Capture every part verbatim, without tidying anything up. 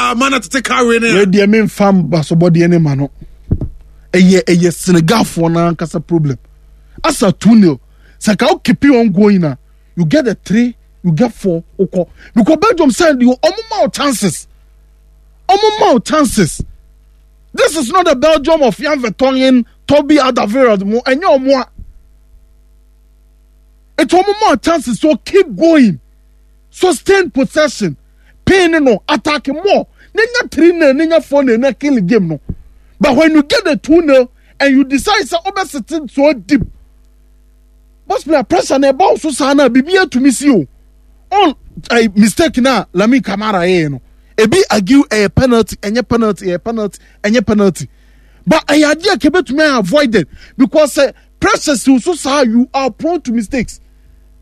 saa mana tete kawe ne. Wei deɛ memfa mbasobɔdeɛ ne ma no. Ɛyɛ ɛyɛ Senegalfoɔ no ankasa problem. Asa two nil. Sɛ ka wo keep on going a, you get the three, you get four, wokɔ. Because Belgium side deɛ ɔmo ma wo chances. Ɔmo ma wo chances. This is not the Belgium of Jan Vertonghen, Toby Alderweireld mo ɛnyɛ ɔmo a. It's ɔmo ma wo chances so keep going. Sustain possession. Pain no attack more. Nenya three nil, nenya four nil, na kill the game no. But when you get the two nil and you decide say obe sitting so deep. Boss player pressure na ɛba so saa na bibi atumi si o. On uh, mistake na Lamine Camara yɛ no. Ebi argue ɛyɛ penalty, ɛnyɛ penalty, ɛyɛ penalty, ɛnyɛ penalty. But ɛyɛ adeɛ a kebetumi ayɛ avoided because uh, pressure si so saa you are prone to mistakes.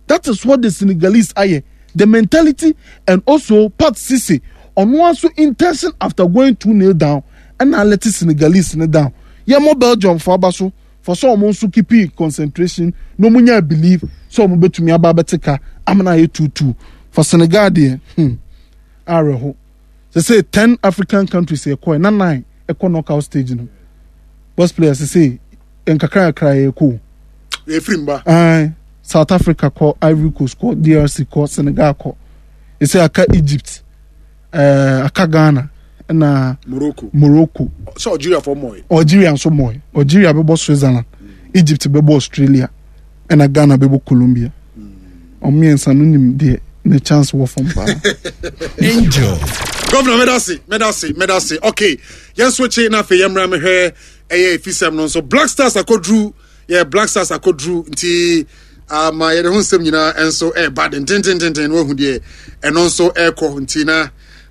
That is what the Senegalese ayɛ. The mentality and also Pat Cisse ɔno nso intention after going two nil down ɛna let Senegalese ne down. Yɛ mo Belgium fo aba so for sɛ ɔmo nso keep concentration na ɔmo nya believe sɛ ɔmo betumi aba abɛte ka amena ayɛ two two for Senegal deɛ hmm awerɛho sɛ sɛ ten African countries ɛkɔ na nine ɛkɔ knockout stage no boss players sɛ nkakra nkakra yɛ kɔ efiri mba. Aye. South Africa kɔ Ivory Coast kɔ DRC kɔ Senegal kɔ ɛsɛ aka Egypt ɛɛ aka Ghana ɛna Morocco. Morocco Sɛ Algeria fɔ mɔɛ. Algeria nso mɔɛ Algeria bɛbɔ Switzerland Egypt bɛbɔ Australia ɛna Ghana bɛbɔ Colombia ɔmo mmiɛnsa no nim deɛ ne chance wɔ fam paa. Angel. Governor medase medase medase okay yɛn nso akyi na afei yɛmmra mehwɛ ɛyɛ efisɛm no nso Black Stars akɔduru yɛ Black Stars akɔduru nti ama yɛde ho nsɛm nyinaa nso ɛreba dentententen na wahu deɛ ɛno nso ɛrekɔ nti na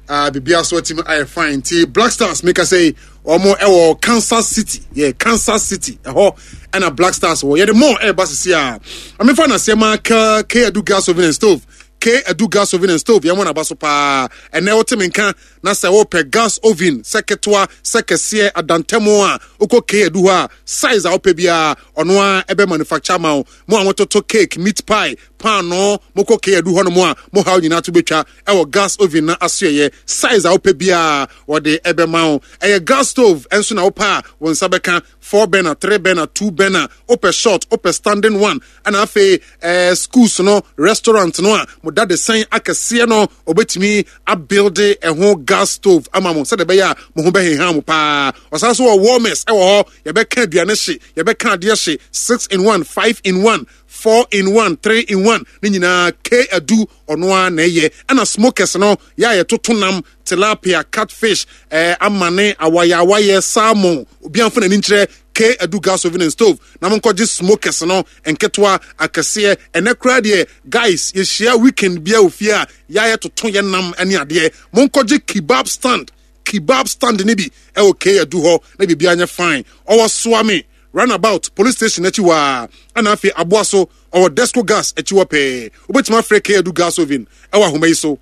uh, biribiara so atumi ayɛ fine nti Black Stars meka sɛ wɔn ɛwɔ Kansas City yɛ Kansas City ɛhɔ ɛna Black Stars wɔ yɛde mɔɔ ɛreba sisi a amefa na seɛ ma K K Adu gas oven and stove K Adu gas oven and stove yɛn mo naba so paa ɛnɛ wote me nka na sɛ wopɛ gas oven sɛ ketewa sɛ kɛseɛ adantɛmo a wokɔ K Adu hɔ a size a wopɛ biara ɔno a ɛbɛ manufacture ma wo mo a mototo cake meat pie paano mokɔ K Adu hɔ nom a mo haw nyinaa to bɛtwa ɛwɔ gas oven na asoɛyɛ size a wopɛ biara wɔde ɛbɛma wo ɛyɛ gas stove ɛnso na wopɛ a wo nsa bɛka four burner three burner two burner wopɛ short wopɛ standing one ɛna afei ɛɛ schools no restaurant no a mo da de sɛn akɛseɛ no obetumi abuild ɛho gas stove ama mo sɛdeɛ ɛbɛyɛ a mo ho bɛheha mo paa ɔsan so wɔ warmers ɛwɔ hɔ yɛbɛka aduane hye yɛbɛka adeɛ hye six in one five in one four in one three in one ne nyinaa k adu ɔno ara na ɛyɛ ɛna smokers no yɛ a yɛtoto nam tilapia catfish ɛɛ amane awayawayɛ salmon obiara nfa n'ani nkyerɛ k adu gas oven and stove na mo nkɔgye smokers no nketewa akɛseɛ ɛnɛ koraa deɛ guys yɛhyia weekend bia wɔ fie a yɛayɛ toto yɛ nam ne adeɛ mo nkɔgye kebab stand kebab stand ne bi ɛwɔ k adu hɔ na biribiara nyɛ fine ɔwɔ soame runabout police station akyi waa ɛna afei aboa so ɔwɔ desco gas akyi hɔ pɛɛ wobɛtumi afrɛ k adu gas oven ɛwɔ ahoma yi so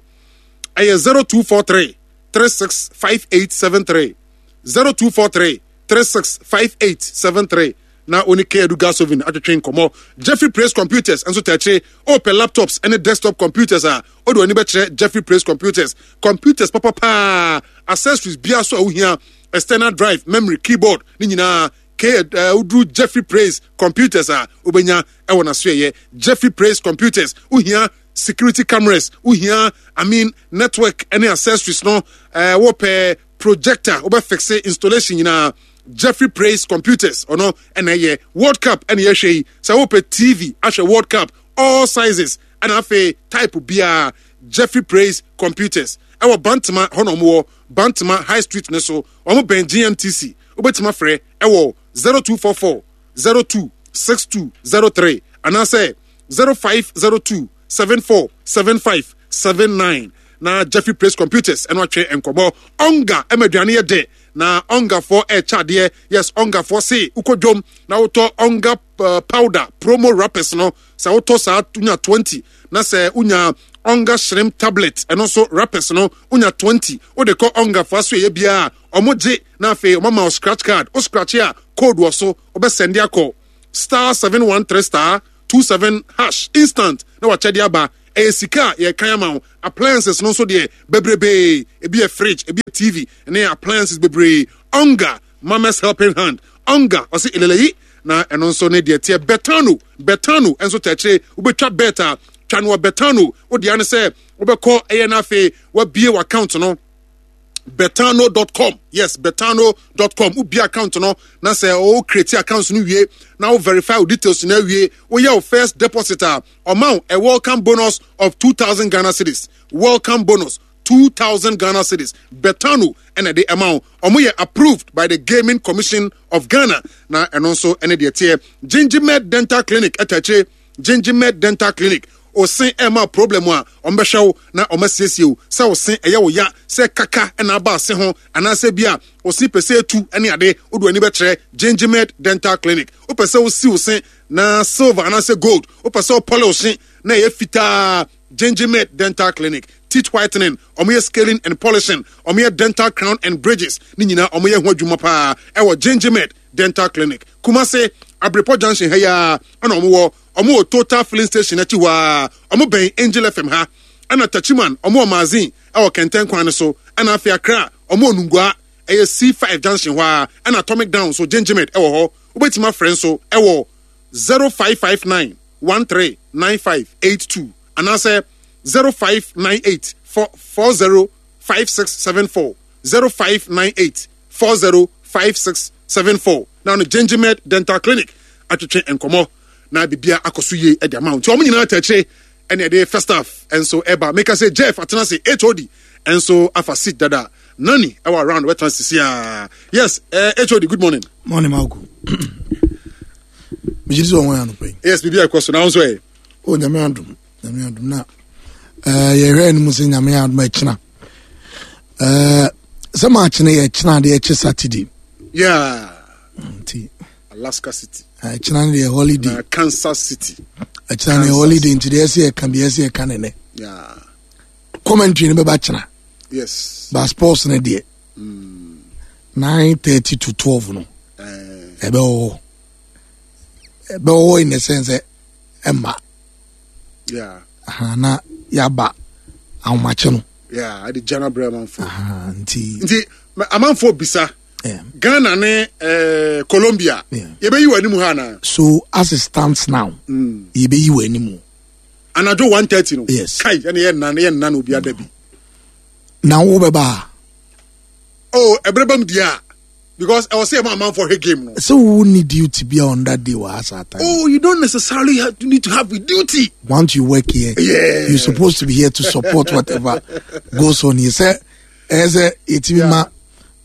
ɛyɛ zero two four three three six five eight seven three zero two four three three six five eight seven three na oni k adu gas oven atwetwe nkɔmɔ jeffrey praise computers nso tɛkyere ɔpɛ laptops ɛne desktop computers a ɔde w'ani bɛkyerɛ jeffrey praise computers computers papapaa accessories bia so a wohia external drive memory keyboard ne nyinaa k uh, woduru jeffrey praise computers a wobɛnya ɛwɔ n'asoɛyɛ jeffrey praise computers wohia security cameras wohia i mean network ɛne accessories no ɛɛ wɔpɛ projector wobɛfixe installation nyinaa jeffrey praise computers ɔno ɛna ɛyɛ world cup ɛna yɛhwɛ yi sɛ wopɛ tv ahwɛ world cup all sizes ɛna afei type biara jeffrey praise computers ɛwɔ bantama hɔ na ɔmo wɔ bantama high street ne so ɔmo bɛn gmtc wobɛtumi afrɛ ɛwɔ zero two four four zero two six two zero three anaasɛ zero five zero two seven four seven five seven nine na jeffrey praise computers ɛno atwe nkɔmɔ ɔnga ɛma aduane yɛ dɛ na ɔngafoɔ ɛɛkyɛ adeɛ yes ɔngafoɔ se wokɔ dwom na wotɔ ɔnga uh, powder promo wrappers no sɛ wotɔ saa wonya twenty na sɛ wonya ɔnga shrimp tablet ɛno nso wrappers no wonya twenty wode kɔ ɔngafoɔ aso ɛyɛ biara ɔmo gye na afei ɔmo ama wo scratch card wo scratch a code wɔ so wobɛsɛnde akɔ star seven one three star two seven hash instant na wakyɛde aba Ɛyɛ sika a yɛkan ama wo. Appliances no nso deɛ bebrebee, ebi yɛ fridge, ebi yɛ T V ne appliances bebree. Onga Mama's Helping Hand, Onga ɔse eleleyi na ɛno nso ne deɛ teɛ. Betano, Betano nso kyerɛkyerɛ wobɛtwa bet a twa no wɔ Betano. Wodeɛ ne sɛ wobɛkɔ ɛyɛ no, afei wabie w'account no, betano dot com. Yes, betano dot com. Wobie account no na sɛ wo create account no wie na wo verify wo details no awie, woyɛ wo first deposit a, ɔma wo a welcome bonus of two thousand Ghana cedis. Welcome bonus two thousand Ghana cedis. Betano ɛna ɛde ɛma wo. Ɔmo yɛ approved by the Gaming Commission of Ghana. Na ɛno nso ɛne deɛ teɛ. Gingimed Dental Clinic ɛta akyire. Gingimed Dental Clinic, ose ɛma problem a, ɔmbɛhwɛ wo na ɔmasiesie wo. Sɛ wo se ɛyɛ wo ya, sɛ kaka ɛna aba ase ho, anaasɛ bi a ose pɛ sɛ etu ɛne ade, wode w'ani bɛkyerɛ Gingimed Dental Clinic. Wopɛ sɛ wosi wo se na silver anaasɛ gold, wopɛ sɛ wopɔle wo se na ɛyɛ fitaa, Gingimed Dental Clinic. Teeth whitening, ɔmo yɛ scaling and polishing, ɔmo yɛ dental crown and bridges ne nyinaa, ɔmo yɛ ho adwuma paa ɛwɔ Gingimed Dental Clinic. Kumase Abrepɔ Junction ha yi ɛna ɔmo wɔ. Ɔmo wɔ Total Filling Station akyi hɔ a, ɔmo bɛn Angel F M ha. Ɛna Tachiman, ɔmo wɔ Magazine ɛwɔ Kɛntɛn kwan no so. Ɛna afei Accra, ɔmo wɔ Nungua, ɛyɛ C five junction hɔ a, ɛna Atomic Down so Gingimed ɛwɔ hɔ. Wobɛtumi afrɛ nso ɛwɔ zero five five nine one three nine five eight two anaasɛ zero five nine eight four zero five six seven four, zero five nine eight four zero five six seven four. Na no Gingimed Dental Clinic atwetwe nkɔmɔ na bibia akɔ so yie ɛde ama wo. Nti wɔn nyinaa tɛkyerɛ ɛne ɛde first half ɛnso ɛba. Meka sɛ Jeff atena se, H O D ɛnso afa seat dada, nani ɛwɔ around wɛtena sisi a. Yes, uh, H O D, good morning. Morning, Malco. Megye di sɛ ɔho yɛ anɔpa yi. Yes, biribi akɔ so na nso ɛ. O, Nyame adom, Nyame adom na uh, yɛhwɛ anim sɛ Nyame adom akyina uh, sɛ maakyene yɛ kyena adeɛ ɛkye Saturday. Yeah nti Alaska City. Ɛkyena no deɛ holiday. Na Kansas City. Ɛkyena no yɛ holiday, nti deɛ ɛsɛ yɛka bi ɛsɛ yɛka ne nɛ. Yeah commentary no bɛba kyena. Yes but sports no deɛ, nine thirty to twelve no ɛbɛwɔ hɔ, ɛbɛwɔ hɔ in the sense sɛ ɛma yeah aha, na yaba ahomakye no. Yeah, ɛde gyana brɛ amanfo. Aha, nti nti ma- amanfo bisa yeah. Ghana ne eh, Colombia, Yeah. yɛbɛyi wɔ anim ha anaa? So as it stands now, yɛbɛyi wɔ anim. Anadwo one thirty no? Yes. Kai, ɛne yɛ nna yɛ nna na obi ada bi. Na wobɛba a? Oh, ɛbrɛ bam deɛ a, because ɛwɔ sɛ yɛma amanfo hwɛ game no. Sɛ wo ni duty bi on that day wɔ ha saa time? Oh, you don't necessarily have to need to have a duty. Once you work here, Yeah. you're supposed to be here to support whatever goes on here. Sɛ ɛyɛ sɛ yɛtumi ma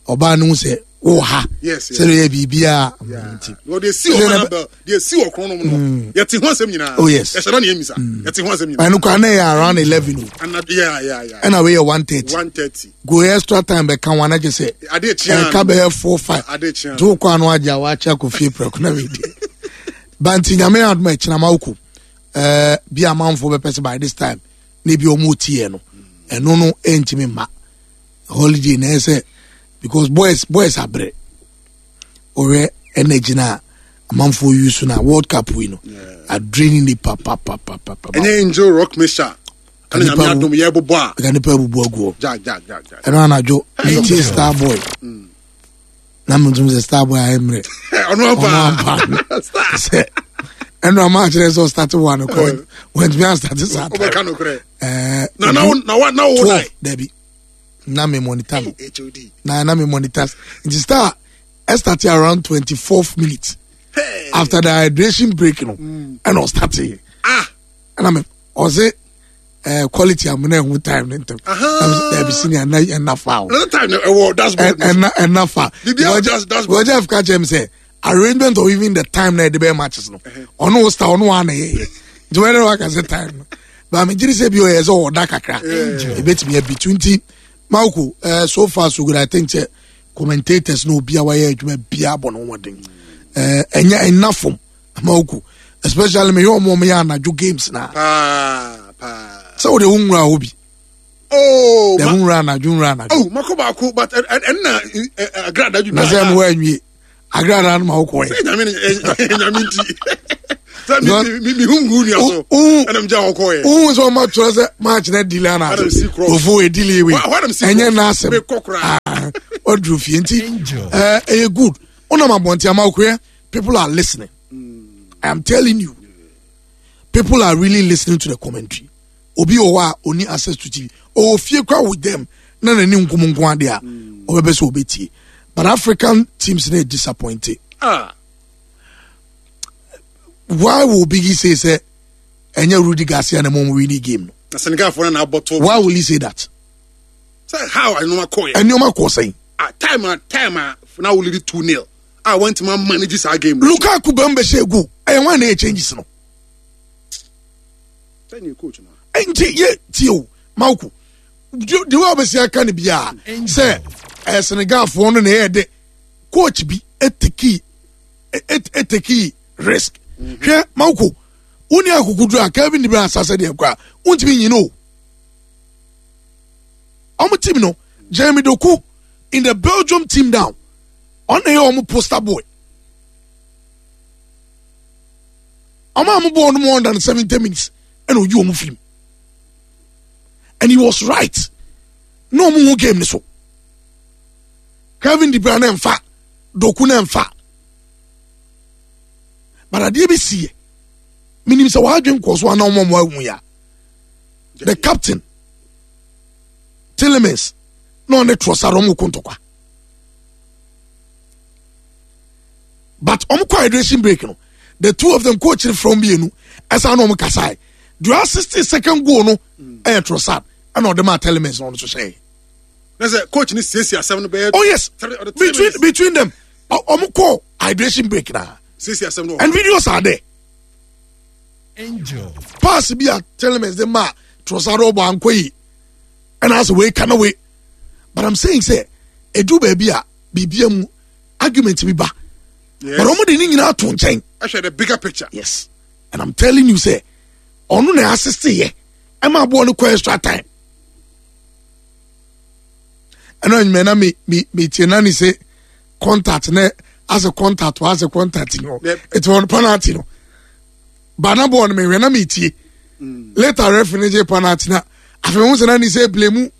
ɔbaa no hu sɛ wowɔ ha Yes, yes. sɛ yɛ biribiaa nti. Wɔde esi wɔ hɔ bɛl deɛ esi wɔ kron no mu no, yɛte ho asɛm nyinaa. Oh, yes. Yɛhyɛ dɔ ne yɛ misa, yɛte ho asɛm nyinaa. Ɛno koraa na ɛyɛ around eleven o. Ana yeah yeah yeah Ɛna wei yɛ one thirty. One thirty. Go extra time bɛka ho anagye sɛ ade kyea. Ɛka bɛyɛ four five. Ade kyea. Nti wokɔ ano agye a wakyɛ akɔ fie prɛko na wedeɛ ba. Nti Nyame adom a, ɛkyena ma wokɔ ɛɛ bi amanfoɔ bɛpɛ sɛ by this time na ebi ɔmo tiɛ no, ɛno no ɛntumi mma holiday na ɛyɛ sɛ because boys boys abrɛ. Ɔhwɛ energy na amanfoɔ use na World Cup wei no adrain nipa papapapapa. Ɛnyɛ Angel Rock Mixture ɛna Nipa Nyame wo- adom yɛbobɔ a. Ɛka nipa abubu aguɔ. Ja ja ja ja. Ɛno anadwo metie Star Boy na metum sɛ Star Boy ayɛ mmerɛ. Ɔno ɔno ampa. Ampa sɛ ɛno ama akyerɛ sɛ ɔstart one kɔ wantumi astart saa. Wobɛka nokorɛ. Ɛɛ, na na wo na wa na wo twelve dabi, na me monitor no. H O D. Na na me monitor, nti Star ɛstart around twenty fourth minute after the hydration break no ɛna ɔstart. Ah. Ɛna me ɔse ɛɛ quality amuna ɛho time ne ntɛm. Dabi, senior, ɛna ɛna fa o. Another time no ɛwɔ dashboard no so. Ɛna ɛna fa. Biribiara wɔ dash- dashboard. Wɔgye ka kyerɛ mi sɛ arrangement of even the time na yɛde bɛyɛ matches no, ɔno wo star, ɔno wa na yɛyɛ, nti wɔyɛ dɛ waka sɛ time no ba mi gyiri sɛ bi ɔyɛ sɛ ɔda kakra ebetumi abi tu. Nti Mauko, uh, so far so good. I think sɛ commentators na obi a wayɛ adwuma bia bɔ ne ho mmɔden. ɛɛ ɛnyɛ ɛnna fam, Mauko, especially me yɛ ɔmo ɔmo yɛ anadwo games na paa paa. Sɛ wode wo nwura hɔ bi. Oh. Dɛm Ma nwura anadwo, nwura anadwo. Oh, mako baako, but ɛnna agrada dwuma. Na sɛ no woanwie agrada no ma wokɔɛ. Sɛ Nyame ne Nyame nti Sɛ mi mi mi hu ngu nua so. Ɛna mi gya hɔ kɔɔ yɛ. Ohun sɛ ɔma twerɛ sɛ match na delay ana ase. Ofo e delay wei. Ɛnyɛ n'asɛm. Ɔduru fie nti ɛɛ ɛyɛ good. Ɔnam abɔnten ama okoyɛ, people are listening. I am telling you, people are really listening to the commentary. Obi wɔ hɔ a oni access to T V. Ɔwɔ fie kora with them na n'ani nkum nko ade a ɔbɛbɛ sɛ ɔbɛtie. But African teams na disappointed. Ah. Why will Biggie say say ɛnyɛ Rudy Garcia na mo win game no? Na Senegal fo na abɔto. Why will he say that? Say how ɛnoma kɔ yɛ. Ɛnoma kɔ sɛn. Ah, time a time a na wo lead two nil. Ah, want to manage this game. Lukaku bɛn bɛ hyɛ egu. Ɛyɛ wɔn na yɛ changes no. Sɛ coach no. Nti yɛ tie o Mawuku. De wa bɛsi aka ne bia sɛ ɛyɛ Senegal foɔ no na ɛyɛ de coach bi eteki eteki risk. Hwɛ Mawuku, woni akokoduro a Kevin De Bruyne asase deɛ kora wontumi nyi no. Ɔmo team no, Jeremy Doku in the Belgium team down. Ɔno na ɛyɛ ɔmo poster boy. Ɔmo a ɔmo bɔɔ no more than seventy minutes ɛna oyi ɔmo firim. And he was right. Na ɔmo hu game ni so. Kevin De Bruyne na nfa, Doku na nfa. But adeɛ bi si yɛ. Minim sɛ wadwen kɔ so ana ɔmo ɔmo ahu ya. The captain Tielemans na ɔne Trossard ɔmo ko ntɔkwa. But ɔmo kɔ hydration break no, the two of them coach from mmienu ɛsan na ɔmo kasae. The sixty second goal no ɛyɛ Trossard ɛna ɔde maa Tielemans na ɔno nso hyɛ. Na sɛ coach ni siesie asɛm no bɛyɛ. Oh yes, Three- ɔde three between minutes. between them ɔmo kɔ hydration break na Siesie asɛm no. And videos are there. Angel. Pass bi a Tielemans de ma Trossard ɔbɔ ankɔ yi ɛna asɛ wei ka na wei, but I'm saying sɛ edu baabi a biribia mu argument bi ba, Yes. but ɔmo de ne nyinaa to nkyɛn. Ɛhwɛ the bigger picture. Yes, and I'm telling you sɛ ɔno na assist yɛ ɛma aboɔ no kɔ extra time. Ɛna enyimɛ na mi mi mi tie na ni sɛ contact na asɛ contact wa asɛ contact no. Yep. Eti wɔn penalty no bana bɔɔl no mi hwɛ na mi tie. Later referee ne gye penalty na afei ohun sɛ na ni sɛ blame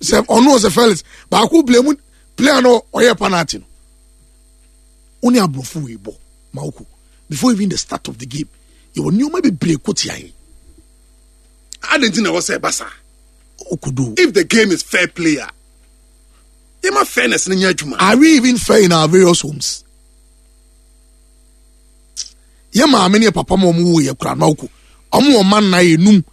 sɛ ɔno ɔsɛ Felix baako blame player no ɔyɛ penalty no. Wɔn ni aborɔfo wei bɔ Mawuko, before even the start of the game yɛwɔ nneɛma bebree ko tia yɛn. Adi nti na ɛwɔ sɛ ɛba saa. Okodo. If the game is fair play a, yɛma fairness no nyɛ adwuma. Are we even fair in our various homes? Yɛ maame ne yɛ papa ma ɔmo wo yɛ kura Mawuko, ɔmo wɔ man na yɛ num,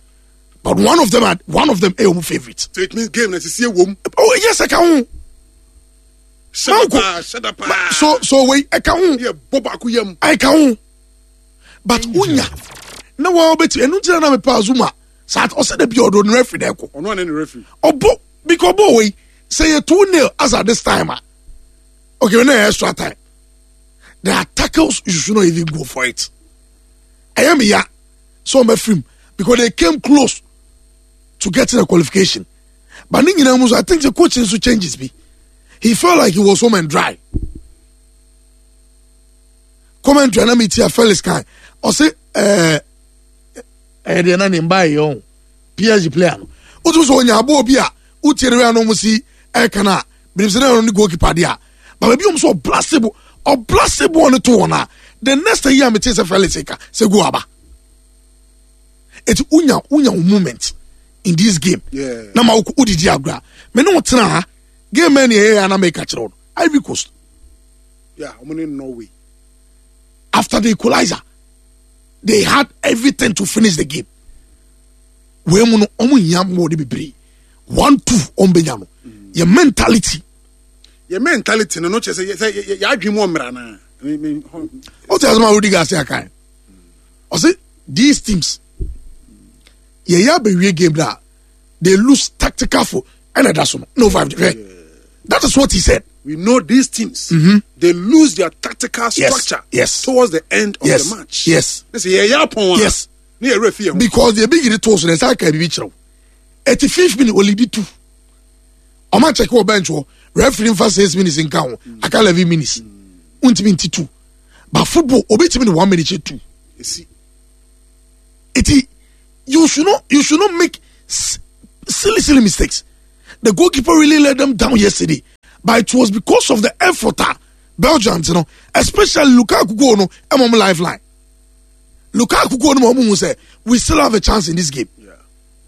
but one of them are one of them ɛyɛ ɔmo favourite. So it means game na sisi ewom. Oh yes, ɛka ho. Hyɛda Mawuko. paa, hyɛda paa. so so wei ɛka ho. Yɛ bɔ baako yam. Ɛka ho, but wonya na wɔn bɛti ɛnu gyina na mepa Azuma saa ɔsɛ de bi ɔdo ne referee na ɛkɔ. Ɔno ane ne referee. Ɔbɔ because ɔbɔ wei sɛ yɛ two nil as at this time ah, okay, na yɛ extra time, there are tackles you should not even go for it. Ɛyɛ mi ya so ɔmɛ firim because they came close to getting a qualification, but ne nyinaa mu so I think the coach nso changes bi, he felt like he was home and dry. Commentary na mi ti a Felix kan ɔsɛ ɛɛ ɛyɛ deɛ na ne mba yɛ ɔn P S G player no o tún sɛ ɔnya aboɔ bi a wotie ne wia no ɔmo si ɛka na binim sɛ ne ne goalkeeper deɛ a but baabi ɔmo sɛ ɔblast ball ɔblast ball no to wɔn a, the next year mi ti sɛ Felix ka sɛ go aba eti unya unya wo moment in this game. Yeah. Na ma wo didi agorɔ a me ne wo tena ha game mɛ ne ɛyɛ yɛ ana mɛka kyerɛ wo no, Ivory Coast. Yeah, ɔmo ne Norway. After the equalizer they had everything to finish the game. Wei mu no ɔmo nyia mo de bebree one two ɔmo benya no yɛ mentality. Yɛ mentality no no kyerɛ sɛ sɛ yɛ yɛ adwene mu ɔmmra naa. Me me hɔ. O ti asɛm a Rudi Garcia kan ɔsɛ these teams yɛyɛ abɛwie game na they lose tactical for ɛna ɛda so no no five hwɛ, that is what he said. We know these teams, they lose their tactical Yes, structure yes. towards the end of Yes, the match. yes. Ne sɛ yɛ yɛ apɔn a. Yes. Ne yɛ refi yɛ ho. Because the big yiri to so na ɛsɛ aka bibi kyerɛw eighty fifth minute olidi two ɔmo akyɛkɛ wɔ bench hɔ, referee nfa six minutes nka ho aka eleven minutes ntumi nti two, but football obi timi ne one minute kyɛ two. Esi. Eti you should not you should not make silly silly mistakes. The goalkeeper really let them down yesterday, but it was because of the effort ah Belgians no, especially Lukaku goal no, ɛmɔ mo lifeline. Lukaku goal no mo ɔmo sɛ we still have a chance in this game.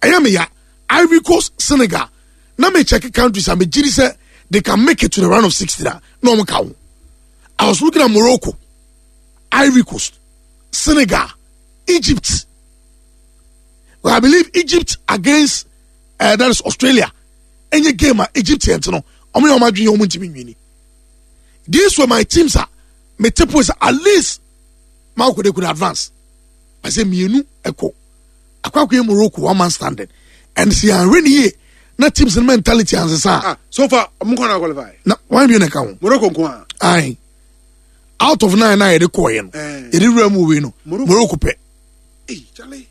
Ɛyɛ mi ya Ivory Coast, Senegal na me check countries a me gyi sɛ they can make it to the round of sixteen na na ɔmo ka ho. I was looking at Morocco, Ivory Coast, Senegal, Egypt. Well, I believe Egypt against uh, that is Australia. Any game a Egyptians no, ɔmo yɛ ɔmo adwene ɔmo ntumi nwini. These were my teams a me tip was at least Maroko they could advance. I say mienu ɛkɔ. Akɔ akɔ Morocco one man standing. And see anwe ni yie na teams no mentality ansesa. Ah, so far ɔmo kɔ na qualify. Na wɔn bi na ɛka ho. Morocco nko a. Aye. Out of nine na yɛde kɔɔ yɛ no. Eh. Yɛde wura mu wei no. Morocco. Morocco pɛ. Hey, Charlie.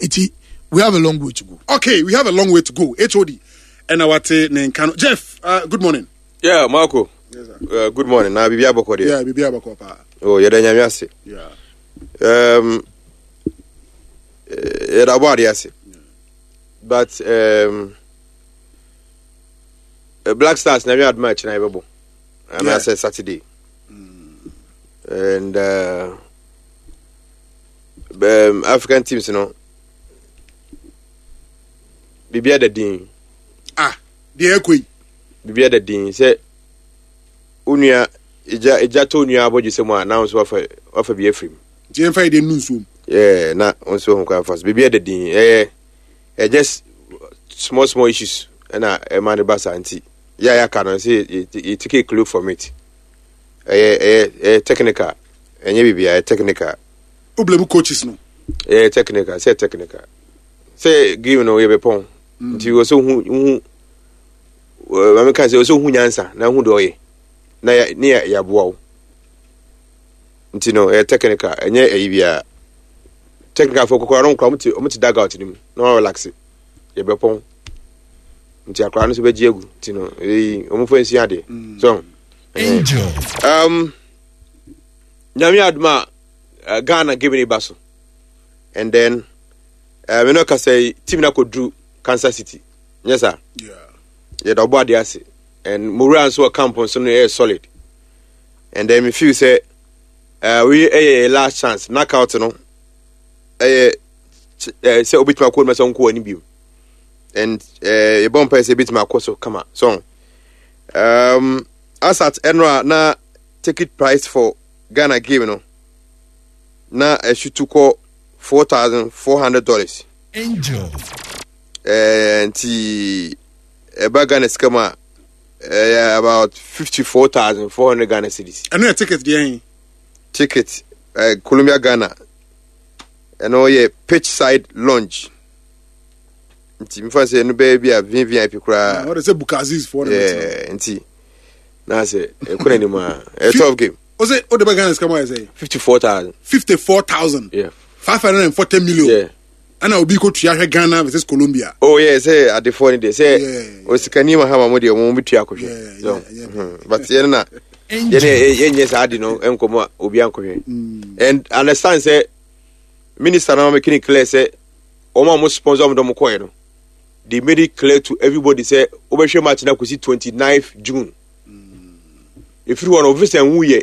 Eti we have a long way to go. Okay, we have a long way to go. H O D. Ɛna wate ne nka no. Jeff, uh, good morning. Yeah, Marco. Yes, sir. Uh, good morning. Na bibi abɔkɔ deɛ. Yeah, bibi abakɔ paa. Oh, yɛda Nyame ase. Yeah. Um, eh, yɛda bɔ ade ase. But um, eh, Black Stars na Nyame adom a ɛkyena yɛbɛbɔ. Anaasɛ Saturday. And uh, um, African teams no, bibi ada din. Ah, deɛ ɛkɔ yi. Bibi ada din sɛ onua egya egya tɔ onua abɔdwe sɛ mu a na wo nso wafa wafa bi afiri mu. Nti yɛmfa yɛ deɛ nu nsuom. Yeah, na nso ho kwan fa so biribi ɛda din, ɛyɛ ɛyɛ just small small issues ɛna ɛma ne ba saa, nti yɛ a yɛaka no sɛ yɛ yɛ take a clue from it. ɛyɛ ɛyɛ ɛyɛ technical, ɛnyɛ biribi, ɛyɛ technical. Wo blame coaches no? Ɛyɛ technical, sɛ technical sɛ game no yɛ bɛ pɔn, nti wɔ sɛ hu hu ɛɛ maame kan sɛ wɔ sɛ hu nyansa na hu deɛ ɔyɛ na yɛ ne yɛ yɛaboa wo, nti no ɛyɛ technical, ɛnyɛ ɛyi biara. Technical fo kɔkɔrɔ no nkora ɔmo te ɔmo te dugout no mu na wɔn relax, yɛbɛpɔn, nti akora no nso bɛgye agu, nti no eyi ɔmo fɔ nsi adeɛ so. Angel. um, Nyame adom a uh, Ghana game ne ba so, and then uh, me no kasa yi, team no akɔduru Kansas City, nyɛ saa? Yeah. Yɛda ɔbɔ adeɛ ase, and mowura nso wɔ camp nso no ɛyɛ solid, and then me feel sɛ uh, wei ɛyɛ yɛ last chance. Knockout no ɛyɛ uh, sɛ wobɛtumi akɔ no sɛ wonkɔ w'ani bio, and uh, yɛbɔ mpae sɛ yɛbɛtumi akɔ so kama. So um, asat ɛno a na ticket price for Ghana game no na ɛhyetu kɔ four thousand four hundred dollars. Angel. Eh, nti ɛba Ghana sika mu a, ɛyɛ about fifty four thousand four hundred Ghana cedis. Ɛno yɛ ticket deɛ yɛn? Ticket uh, Colombia Ghana, ɛno yɛ pitch side lounge, nti nfa sɛ ɛno bɛyɛ bi a V V I P koraa. Wɔde sɛ Bukaziz foɔ na bɛtena. Yeah, nti na sɛ ɛkɔ n'anim a, ɛyɛ tough game. O sɛ o de bɛ Ghana sika mu ayɛ sɛ? Fifty four thousand. Fifty four thousand. Yeah. Five hundred and forty million. Yeah. Ɛna obi ko tua hwɛ Ghana versus Colombia. Oh yeah, sɛ adefoɔ no deɛ sɛ Yeah. osikani Mahama mo deɛ ɔmo bɛtua akɔhwɛ. Yeah, So, yeah, yeah. mhm. but yɛn na yɛn yɛnyɛ saa ade no nkɔmɔ a obi ankɔhwɛ, and understand sɛ minister na making it clear sɛ wɔn a wɔn sponsor wɔn dɔm kɔɛ no, they made it clear to everybody sɛ wobɛhwɛ match na kɔsi twenty ninth June. Efiri hɔ no ofisa nwu yɛ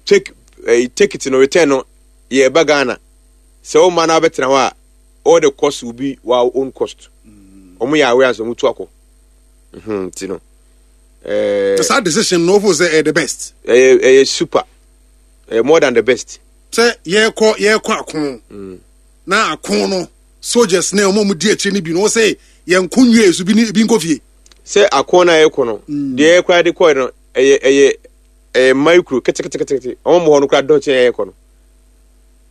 take ɛɛ ticket no return no yɛ ɛba Ghana sɛ wɔn mma no abɛtena hɔ a, all the cost will be our own cost. Wɔn yɛ aware asɛ wɔn tu akɔ mhm ti no ɛɛ. Saa decision no ofo sɛ ɛyɛ the best? ɛyɛ ɛyɛ super, ɛyɛ more than the best. Sɛ yɛkɔ yɛkɔ ako na ako no, soldiers ne ɔmo a ɔmo di akyire no bi no, wɔsɛ yɛn ko nwie so bi ni bi nkɔ fie. Sɛ ako no a yɛkɔ no deɛ yɛkora de kɔɛ no, ɛyɛ ɛyɛ ɛyɛ micro ketekete. Wɔn mo hɔ no kora dɔɔkye yɛ yɛkɔ no,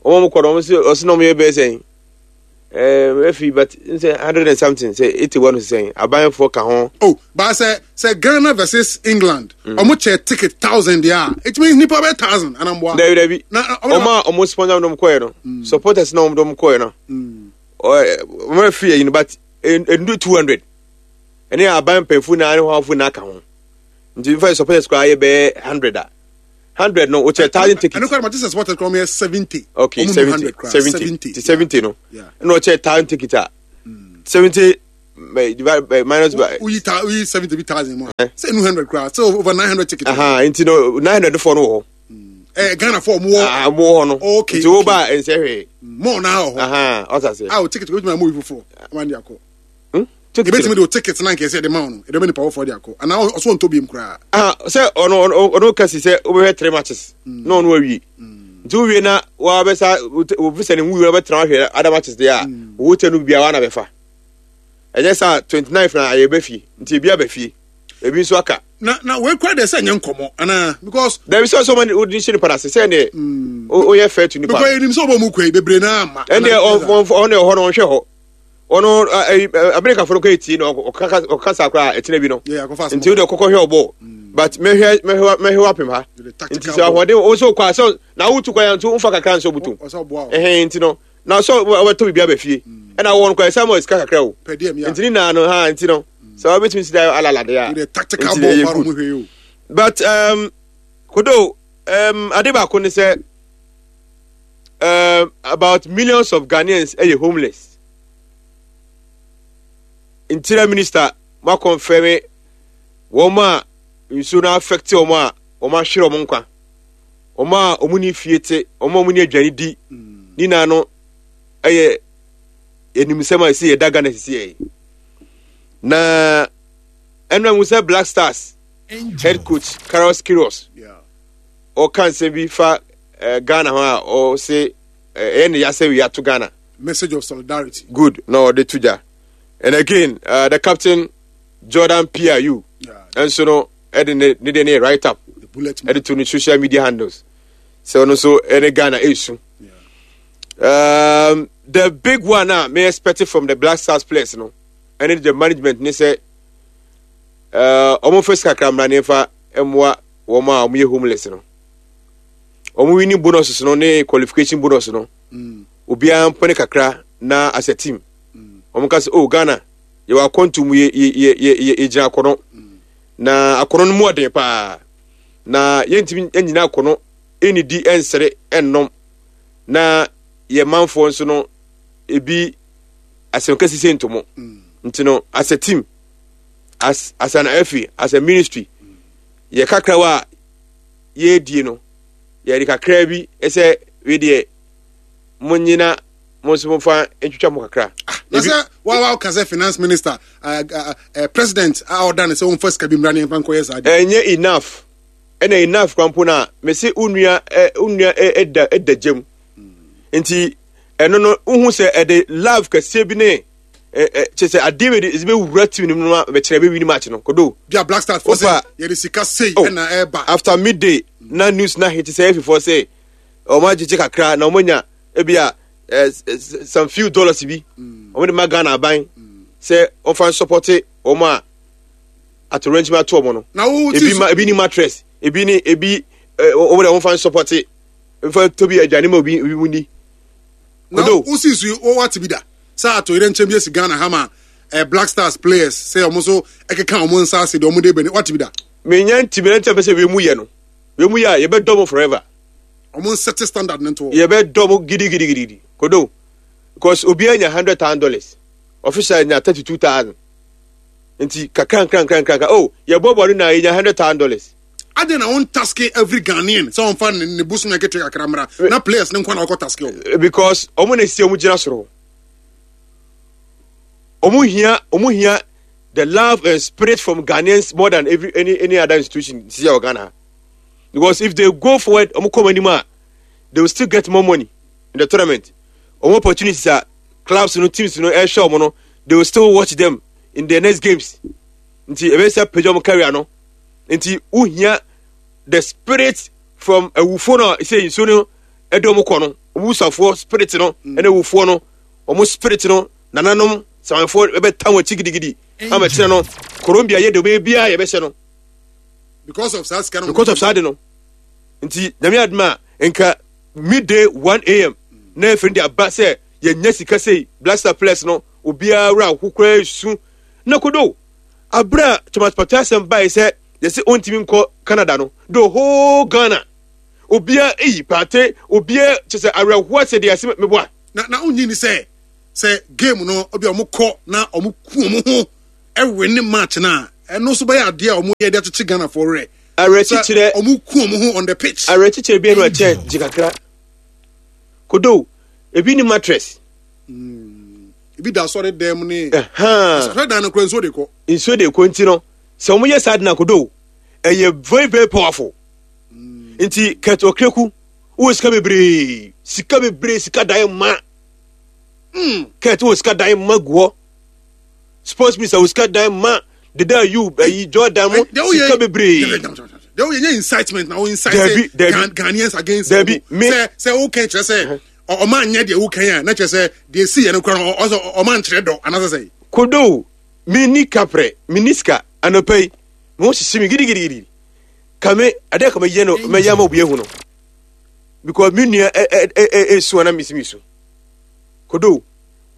wɔn mo kɔ no, wɔn sɛ ɔsɛ na wɔn yɛ bɛyɛ sɛn ɛɛ efi, but n sɛ hundred and something, sɛ eighty one sɛn abanfoɔ ka ho. Oh, baa sɛ sɛ Ghana versus England, ɔmo kyɛ ticket thousand deɛ a, it means nipa bɛ thousand anamboa. Dabi dabi. Na ɔmo wɔn a wɔn sponsor wɔn kɔɛ no, supporters na wɔn dɔm kɔɛ no, ɔɛ wɔn afiri yɛ yi no, but endu two hundred, ɛne aban mpanyinfo na ɛne hɔnfo na aka ho, nti nfa supporters koraa yɛ bɛyɛ hundred a Hundred no, wokyɛ thousand tickets. Ɛno kora Manchester supporters kora ɔmo yɛ seventy. Okay, Ɔmo mu seventy, hundred koraa, seventy, ti seventy no. Yeah. Ɛna ɔkyɛ thousand ticket a seventy eh, divide by minus by. Woyi ta woyi seventy bi thousand mu a sɛ enu hundred koraa, sɛ over nine hundred tickets. Aha, nti no nine hundred foɔ no wɔ hɔ. Ɛɛ Ghana fo ɔmo wɔ. Ah, ɔmo wɔ hɔ no. Okay, Nti wo okay. ba nsɛ hwee. Mɔɔ naa wɔ hɔ. Aha, ɔsa se. A o ticket obetumi ama obi foforɔ ama de akɔ. Hmm? Ticket. Ebetumi de o ticket na nkɛse yɛde ma wo no, yɛde bɛ nipa foforɔ de akɔ anaa ɔso ɔntɔ biem koraa. Ah, sɛ ɔno ɔno ɔno kasi sɛ wobɛhwɛ three matches na ɔno awie. Nti wowie na wabɛsa wo visa ne nwu wabɛtena wahwɛ other matches deɛ a, wo hotel no biara wana bɛfa. Ɛnyɛ saa twenty nine na ayɛ bɛ fie, nti ebi aba fie, ebi nso aka. Na na wei kura deɛ sɛ nyɛ nkɔmɔ anaa, because Dabi, sɛ ɔsɛ ɔma wode hyɛ nipa no ase sɛ neɛ woyɛ fair to nipa. Because enim sɛ ɔbɔ mu kɔ yi bebree naa ama. Ɛndeɛ ɔno ɛhɔ no ɔnhwɛ hɔ, ɔno Amerikafoɔ no kɔ etie no, ɔka ɔkasa koraa ɛkyinɛ bi no. Yeah, akɔfa asɛm. Nti wode kɔkɔ hwɛ ɔbɔ, but mɛhwɛ mɛhwɛ mɛhwɛ wapem ha. The tactical Nti sɛ ahoɔden wo sɛ wokɔ a, sɛ na wotu kwan nso womfa kakra nso wobutom. Ɔsɛ ɔboa wo. Ɛhɛn, nti no na sɛ wɔbɛtɔ biribi aba fie ɛna wɔn kɔ ɛsɛ ma sika kakra o. Per diem, yeah. Nti ne naa no ha, nti no sɛ wɔbɛtumi si da alala de a. The tactical nti ball ɛyɛ pa good. ɔmo hwɛ yi o. But um, kodo um, ade baako ne sɛ um, about millions of Ghanaians ɛyɛ homeless. Interior Minister ma confirm wɔn a nsuo no affect wɔn a wɔn ahwere wɔn nkwa, wɔn a wɔn ni fie te, wɔn a wɔn ni aduane di ne nyinaa no, ɛyɛ enimsɛm a ɛsi yɛ da Ghana sisi yɛ. Na ɛnna mu sɛ Black Stars head coach Carlos Queiroz Yeah. ɔka nsɛm bi fa eh, Ghana ho a ɔse eh, ɛyɛ ne yasɛ wi ato Ghana. Message of solidarity. Good, na ɔde to gya. And again, uh, the captain Jordan Piu Yeah. ɛnso no ɛde ne ne de ne write up The bullet man. ɛde to ne social media handles sɛ ɔno nso ɛne Ghana ɛresu. Yeah. um, the big one a me expect from the Black Stars players no ɛne the management ne sɛ uh, ɔmo fɛ sika kakra mmra ne nfa mmoa wɔn a wɔn yɛ homeless no. Wɔn winning bonuses no ne qualification bonus no, Mm. obiara mpɔne kakra na as a team wɔn ka sɛ, oh, Ghana yɛwɔ akɔntu mu, yɛ yɛ yɛ yɛ yɛgyina akɔnɔ na akɔnɔ no mu ɔden paa na yɛntumi nyina akɔnɔ ɛnidi ɛnsere ɛnnom na yɛ manfoɔ nso no ebi asɛm kɛse sɛ ntomo. Nti no as a team, as as an F A, as a ministry, yɛ kakrawa a yɛredie no, yɛde kakra bi ɛsɛ wei deɛ mo nyina mo nso momfa ntwitwa mo kakra. Na Ebi- sɛ wa wa ka sɛ finance minister, uh, uh, uh, president a ɔda ne sɛ wɔmfa sika bi mmra ne yɛmfa nkɔyɛ saa deɛ. Ɛnyɛ enough, ɛna enough kwan po na mesi wo nua ɛ wo nua ɛ ɛda ɛda gyam, nti ɛno no wohu sɛ ɛde love kɛseɛ bi ne ɛ ɛ kyerɛ sɛ adeɛ bi de ɛdze bɛwura team no mu no ma bɛkyerɛ bɛwi match no kodo. Bi a Black Stars fɔ sɛ Opa. yɛde sika sei Oh. ɛna ɛɛba. After midday na news na hit sɛ efifoɔ sɛ ɔmo agyegye kakra na ɔmo nya ebi a ɛ s- some few dollars bi ɔmo de ma Ghana aban sɛ ɔfa support ɔmo a atorɛnkyɛm ato ɔmo no. Na wo Ebi ma ebi ni mattress, ebi ni ebi ɛ ɔmo de ɔmo fa support nfa tobi aduane ma obi obi mu ni. Na Kodo. wo si so wo wate bi da sɛ atoyerɛ nkyɛn bi esi Ghana ha ma eh, Black Stars players sɛ ɔmo nso ɛkeka ɔmo nsa ase deɛ ɔmo de bɛni, wate bi da? Menya ntumi na ntɛm pɛ sɛ wei mu yɛ no, wei mu yɛ a yɛbɛdɔ mo forever. Ɔmo nsɛte standard ne nto hɔ. Yɛbɛdɔ mo gidigidigidi kodo, because obiara nya hundred thousand dollars, official nya thirty two thousand, nti kakra nkra nkra nkra nkra, oh, yɛbɔ bɔ no na yɛnya hundred thousand dollars. Adi na wɔn task every Ghanaian sɛ wɔn fa ne ne bosom ɛketewa kakra mmra na players ne nkwa na ɔkɔ task wɔn? Because ɔmo na esi ɔmo gyina soro, ɔmo hia ɔmo hia the love and spirit from Ghanaians more than every any any other institution si wɔ Ghana, because if they go forward, ɔmo kɔ ɔmo anim a, they will still get more money in the tournament. Ɔmo opportunities a clubs no, teams no ɛhwɛ ɔmo no, they will still watch them in their next games, nti ebe sɛ pagya ɔmo career no. Nti wohia the spirit from awufoɔ no a sɛ nsuo no ɛde ɔmo kɔ no, ɔmo wusafoɔ spirit no ɛne awufoɔ no ɔmo spirit no, nananom samanfoɔ ɛbɛta wɔn akyi gidigidi ama kyerɛ no Colombia yɛ de ɔbɛyɛ biara yɛbɛhyɛ no. Because of saa sika no. Because of saa de no. Nti Nyame adum a, nka midday one a m na efiri de aba sɛ yɛnya sika sei, Black Star players no obiara wura aho koraa esu na kodo abira Thomas Partey asɛm baa sɛ yɛsɛ ɔntumi nkɔ Canada no, the whole Ghana Obia eyi pate obia kyɛ sɛ awerɛhoɔ sɛ deɛ ɛsɛ meboa. Na na wonyi ni sɛ sɛ game no obi a ɔmo kɔ na ɔmo ku ɔmo ho ɛwɛ ne match na ɛno nso bɛyɛ adeɛ a ɔmo yɛ de akyekye Ghana fo werɛ. Awerɛkyekyerɛ ɔmo ku ɔmo ho on the pitch. Awerɛkyekyerɛ bi no ɛkyɛ gye kakra. Kodo ebi ni mattress. Mm. Ebi da asɔre dɛm ne. Asɔre dan no kura nsuo de kɔ. Nsuo de kɔ nti no sɛ ɔmo yɛ saa de na kodo ɛyɛ very very powerful. Mm. Nti Kurt Okraku wɔ sika bebree sika bebree sika dan ma. Mm. Kurt wɔ sika dan ma gu hɔ. Sports minister wɔ sika dan ma deda you ayi Jordan mo sika bebree. Deɛ woyɛ nyɛ incitement na wo incite Ghanaians against Dabi me sɛ sɛ wo kɛn kyerɛ sɛ ɔma nyɛ deɛ wo kɛn a na kyerɛ sɛ deɛ si yɛ no kora no ɔsɛ ɔma nkyerɛ dɔ anaasɛ sɛ. Kodo mi ni kaprɛ mi ni sika anɔpa yi mi ho hyehye mi gidigidigidi kame adeɛ kame yɛ no mɛyɛ ama obi ehu no because mi nua ɛ ɛ ɛ esu ana mi si mi su kodo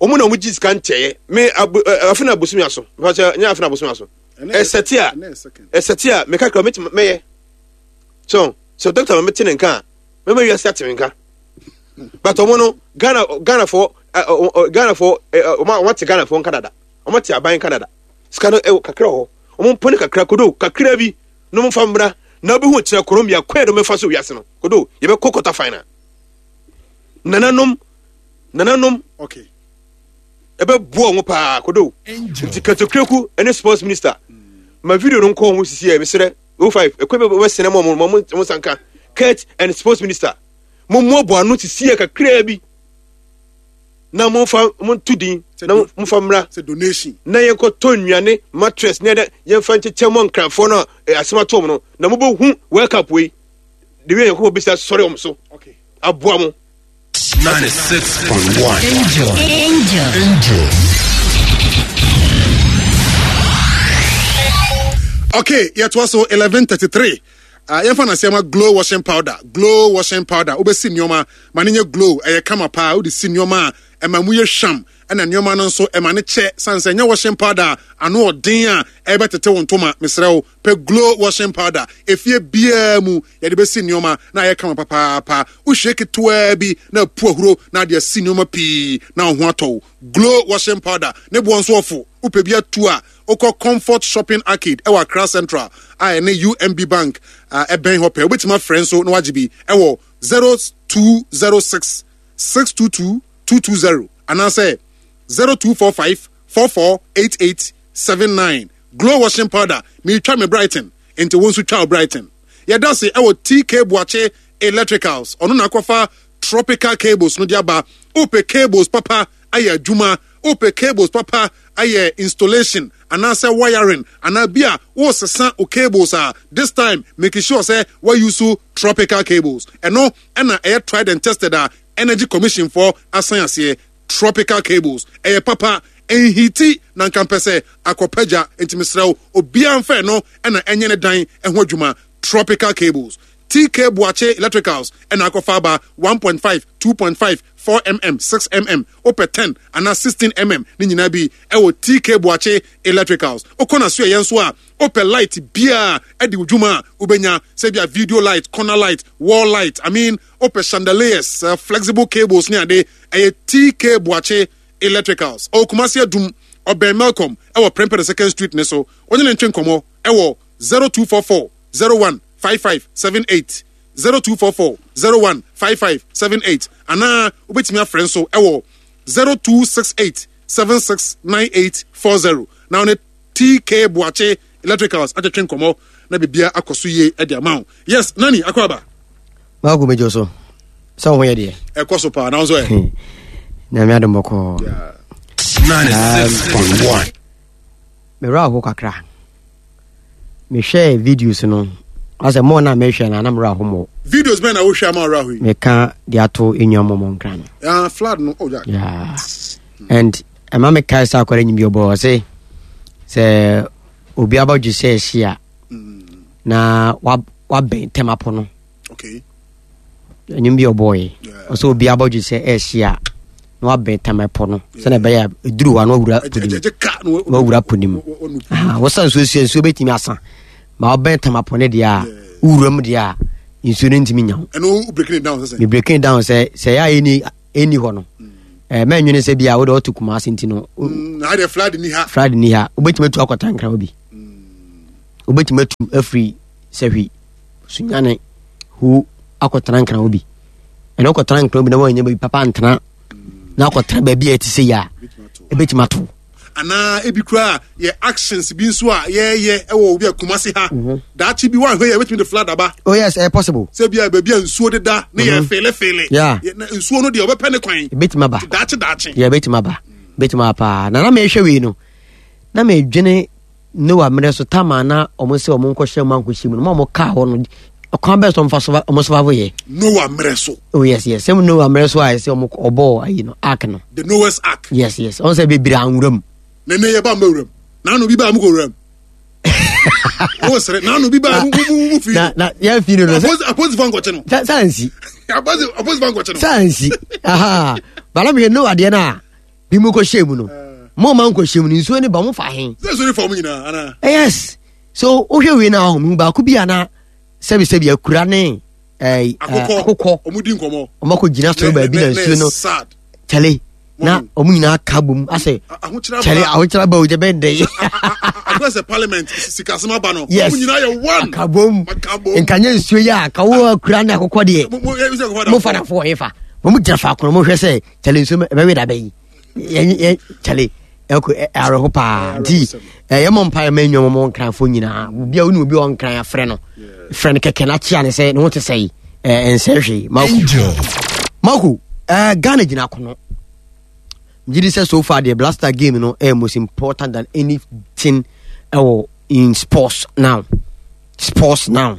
wɔn na wɔn gye sika nkyɛɛ me abo afe na abosomi aso mpakyɛ nyɛ afe na abosomi aso ɛsɛte a ɛsɛte a meka kra mɛtumi mɛyɛ so sɛ dɔkta ma mɛte ne nka a mɛma wiase ate me nka but wɔn no Ghana Ghana fo Ghana fo wɔn wɔn ate Ghana fo nka dada wɔn ate aban nka dada sika no ɛwɔ kakra wɔ hɔ wɔn mpɔne kakra kodo kakra bi na wɔn fa mmra na obi ho kyerɛ Colombia kwan do mɛfa so wiase no kodo yɛbɛkɔ quarter final nananom nananom okay ɛbɛboa wɔn paa kodo nti Kurt Okraku ne sports minister ma video no nkɔ wɔn sisi yɛ mesrɛ o five ɛkɔ bɛ bɛsɛnɛ mu ɔmo mo mo sanka Kurt and sports minister mo mo ano sisi yɛ kakraa bi na mo fa mo nto din na mo fa mmra donation na yɛn kɔ tɔ nnuane mattress ne yɛn yɛn fa nkyekyɛ mo nkranfoɔ no a asɛm ato wɔn no na mo bɛ hu World Cup wei de wei yɛn kɔ bɛ bisa sɔre wɔn so aboa mo. ninety-six point one Angel. Angel. Angel. Okay, yet was so eleven thirty-three. Uh, yɛmfa na sɛma glow washing powder, glow washing powder. Wobɛsi nneɛma ma ne nyɛ glow, ɛyɛ kama paa. Wode si nneɛma a ɛma mu yɛ hwam, ɛna nneɛma no nso ɛma ne kyɛ. San sɛ nyɛ washing powder ano ɔden a ɛbɛtete wo ntoma. Mesrɛ wo pɛ glow washing powder. Efie biara mu yɛde bɛsi nneɛma na ayɛ kama papaapa. Wohwie ketewa bi na apu ahuro na ade asi nneɛma pii na wo ho atɔ wo. Glow washing powder ne boɔ nso ɔfo. Wopɛ bi atu a wokɔ Comfort Shopping Arcade ɛwɔ Accra Central a ɛne U M B Bank ɛbɛn hɔ pɛ. Wobɛtumi afrɛ nso na wagye bi ɛwɔ zero two zero six six two two two two zero anaasɛ zero two four five four four eight eight seven nine. Glow washing powder meetwa me Brighton nti wo nso twa wo Brighton. Yɛda se ɛwɔ T K Boakye Electricals ɔno na akɔfa tropical cables no de aba. Wopɛ cables papa ayɛ adwuma, wopɛ cables papa ayɛ installation anaasɛ wiring anaa bi a wosesa o cables a this time make sure sɛ wayi tropical cables. Ɛno ɛna ɛyɛ tried and tested a Energy Commission for asan aseɛ. Tropical cables ɛyɛ papa enhiti na nka mpɛ sɛ akɔpagya nti mesrɛ wo obiara mfɛ no ɛna ɛnyɛ ne dan ɛho adwuma. Tropical cables T K Boakye Electricals ɛna akɔfa aba one point five, two point five, four millimeters, six millimeters, wopɛ ten anaa sixteen millimeters ne nyinaa bi ɛwɔ T K Boakye Electricals. Wokɔ na so ɛyɛ nso a wopɛ light bia ɛde wo dwuma a wobɛnya sɛ bia video light, corner light, wall light, I mean wopɛ chandeliers, uh, flexible cables ne ade ɛyɛ T K Boakye Electricals. Ɔwɔ Kumasi Adum, ɔbɛn Melcom ɛwɔ Prempeh the Second Street ne so. Wɔne ne ntwe nkɔmmɔ ɛwɔ zero two four four zero one five five seven eight zero two four four zero one five five seven eight anaa wobɛtumi afrɛ nso ɛwɔ zero two six eight seven six nine eight four zero. Na ɔne T K Boakye Electricals atwetwe nkɔmmɔ na bibia akɔ so yie ɛde ama wo. Yes, Nani akɔ aba. Maako mejo so. Sɛ wo ho yɛ deɛ. Ɛkɔ so paa na wo nso ɛ. Nyame adom bɔkɔɔ. ninety-six point one. Mewura ho kakra. Mehwɛ videos no. Asɛ mo na mehwɛ na na mewura ho mo. Videos bɛn na wohwɛ ama wura ho yi? Meka de ato enwa mo mo nkra no. Ah, flood no. Oh, yeah. Yeah. And ɛma me kai sa akɔre nyimbi ɔbɔ ɔse sɛ obi abɔdwe sɛ ɛhye a na wabɛn tɛmapo no. Okay. Nyimbi ɔbɔ yi. Ɔsɛ obi abɔdwe sɛ ɛhye a na wabɛn tɛmapo no. Sɛ na ɛbɛyɛ eduru hɔ a na wawura ponim. Na wawura ponim. Ah, wɔsa nsuo nsuo nsuo bɛtumi asa. Ma wabɛn tɛmapo ne deɛ a wura mu deɛ a Nsuo no ntumi nya ho. Ɛno breaking it down sɛ Me breaking it down sɛ sɛ yɛ a ɛni ɛni hɔ no, ɛɛ mɛnwene sɛ bia wode ɔto Kumase nti no wo- na ayɛ flood ni ha. Flood ni ha, wobɛtumi atu akɔta Nkran hɔ bi, wobɛtumi atu afiri Sɛhwi, Sunyane hu akɔtena Nkran hɔ bi. Ɛna wokɔtena Nkran bi na woanya baabi papa ntena na akɔtena baabi a ɛte sɛ yi a, ɛbɛtumi ato. Anaa ebi koraa yɛ actions bi nso a yɛyɛ ɛwɔ obi a Kumase ha, daakye bi woanhwɛ yɛ, ebɛtumi de flood aba. Oh yes, ɛyɛ possible. Sɛ bi a baabi a nsuo deda ne yɛ feelefeele. Yeah. Yɛ- na nsuo no deɛ, ɔbɛpɛ ne kwan. Ɛbɛtumi aba. Daakye daakye. Yɛ, ɛbɛtumi aba, ɛbɛtumi aba paa. Na na mehwɛ wei no na medwene Noa mmerɛ so tama na ɔmo sɛ ɔmo nkɔhyɛ mu ankɔhyɛ mu no ma ɔmo kaa hɔ no, ɔkwan bɛɛ so ɔmfa so ɔmo survive yɛ. Noah mmerɛ so. Oh yes yes sɛm Noa mmerɛ so a ɛsɛ ɔmo ɔbɔɔ ayi no, ark no. The Noah's Ark. yes yes ɔmo sɛ bebree anwura mu. Na ne yɛ ba mma wuram naanu bi ba mu kɔ wuram o sere naanu bi ba mu mu mu fi. Na na yɛn fi no no sɛ apolisifoɔ nkɔkye no. Sɛ sɛ ansi. Apolisi apolisifoɔ nkɔkye no. Sɛ ansi aha bala mehwɛ Noa deɛ no a bi mu kɔhyɛ mu no, mo ma nkɔhyɛ mu no, nsuo ne ba mo fa he? Sɛ nsuo ne fa mu nyinaa ana? Eh, yes, so wohwɛ wei no a, ɔho baako bi a na sɛbisɛbi akura ne eh, eh, akokɔ. Akokɔ. Ɔmo di nkɔmɔ. Ɔmo akɔ gyina soro baabi na nsuo no sad. Kyale na ɔmo nyinaa ka bom asɛ ahokyerɛ. Kyale, ahokyerɛ ba o, gye bɛn dɛ. Akɔ sɛ parliament sikasɛm aba no, Yes. ɔmo nyinaa yɛ one. Aka bom. Aka bom. Nkanyɛ nsuo yi a ka wo akura ne akokɔ deɛ. Mo- mo- eh, sɛ akokɔ da mo fa nafo wɔ hefa? Mo gyina faako no, mohwɛ sɛ kyale nsuo ɛbɛwe da bɛyi yɛn yɛn kyale ɛkɔ ɛ- awerɛho paa. Nti ɛyɛ mɔ mpa ma nnwom mo Nkranfoɔ nyinaa. Obi a wone obi a ɔnkran afrɛ no, frɛ no kɛkɛ na kyea ne sɛ ne ho te sɛ yi ɛnsɛ hwee. Mako. Angel. Mako, ɛɛ Ghana gyina akono. Megye di sɛ so far deɛ, Blaster game no ɛyɛ most important than anything ɛwɔ in sports now. Sports now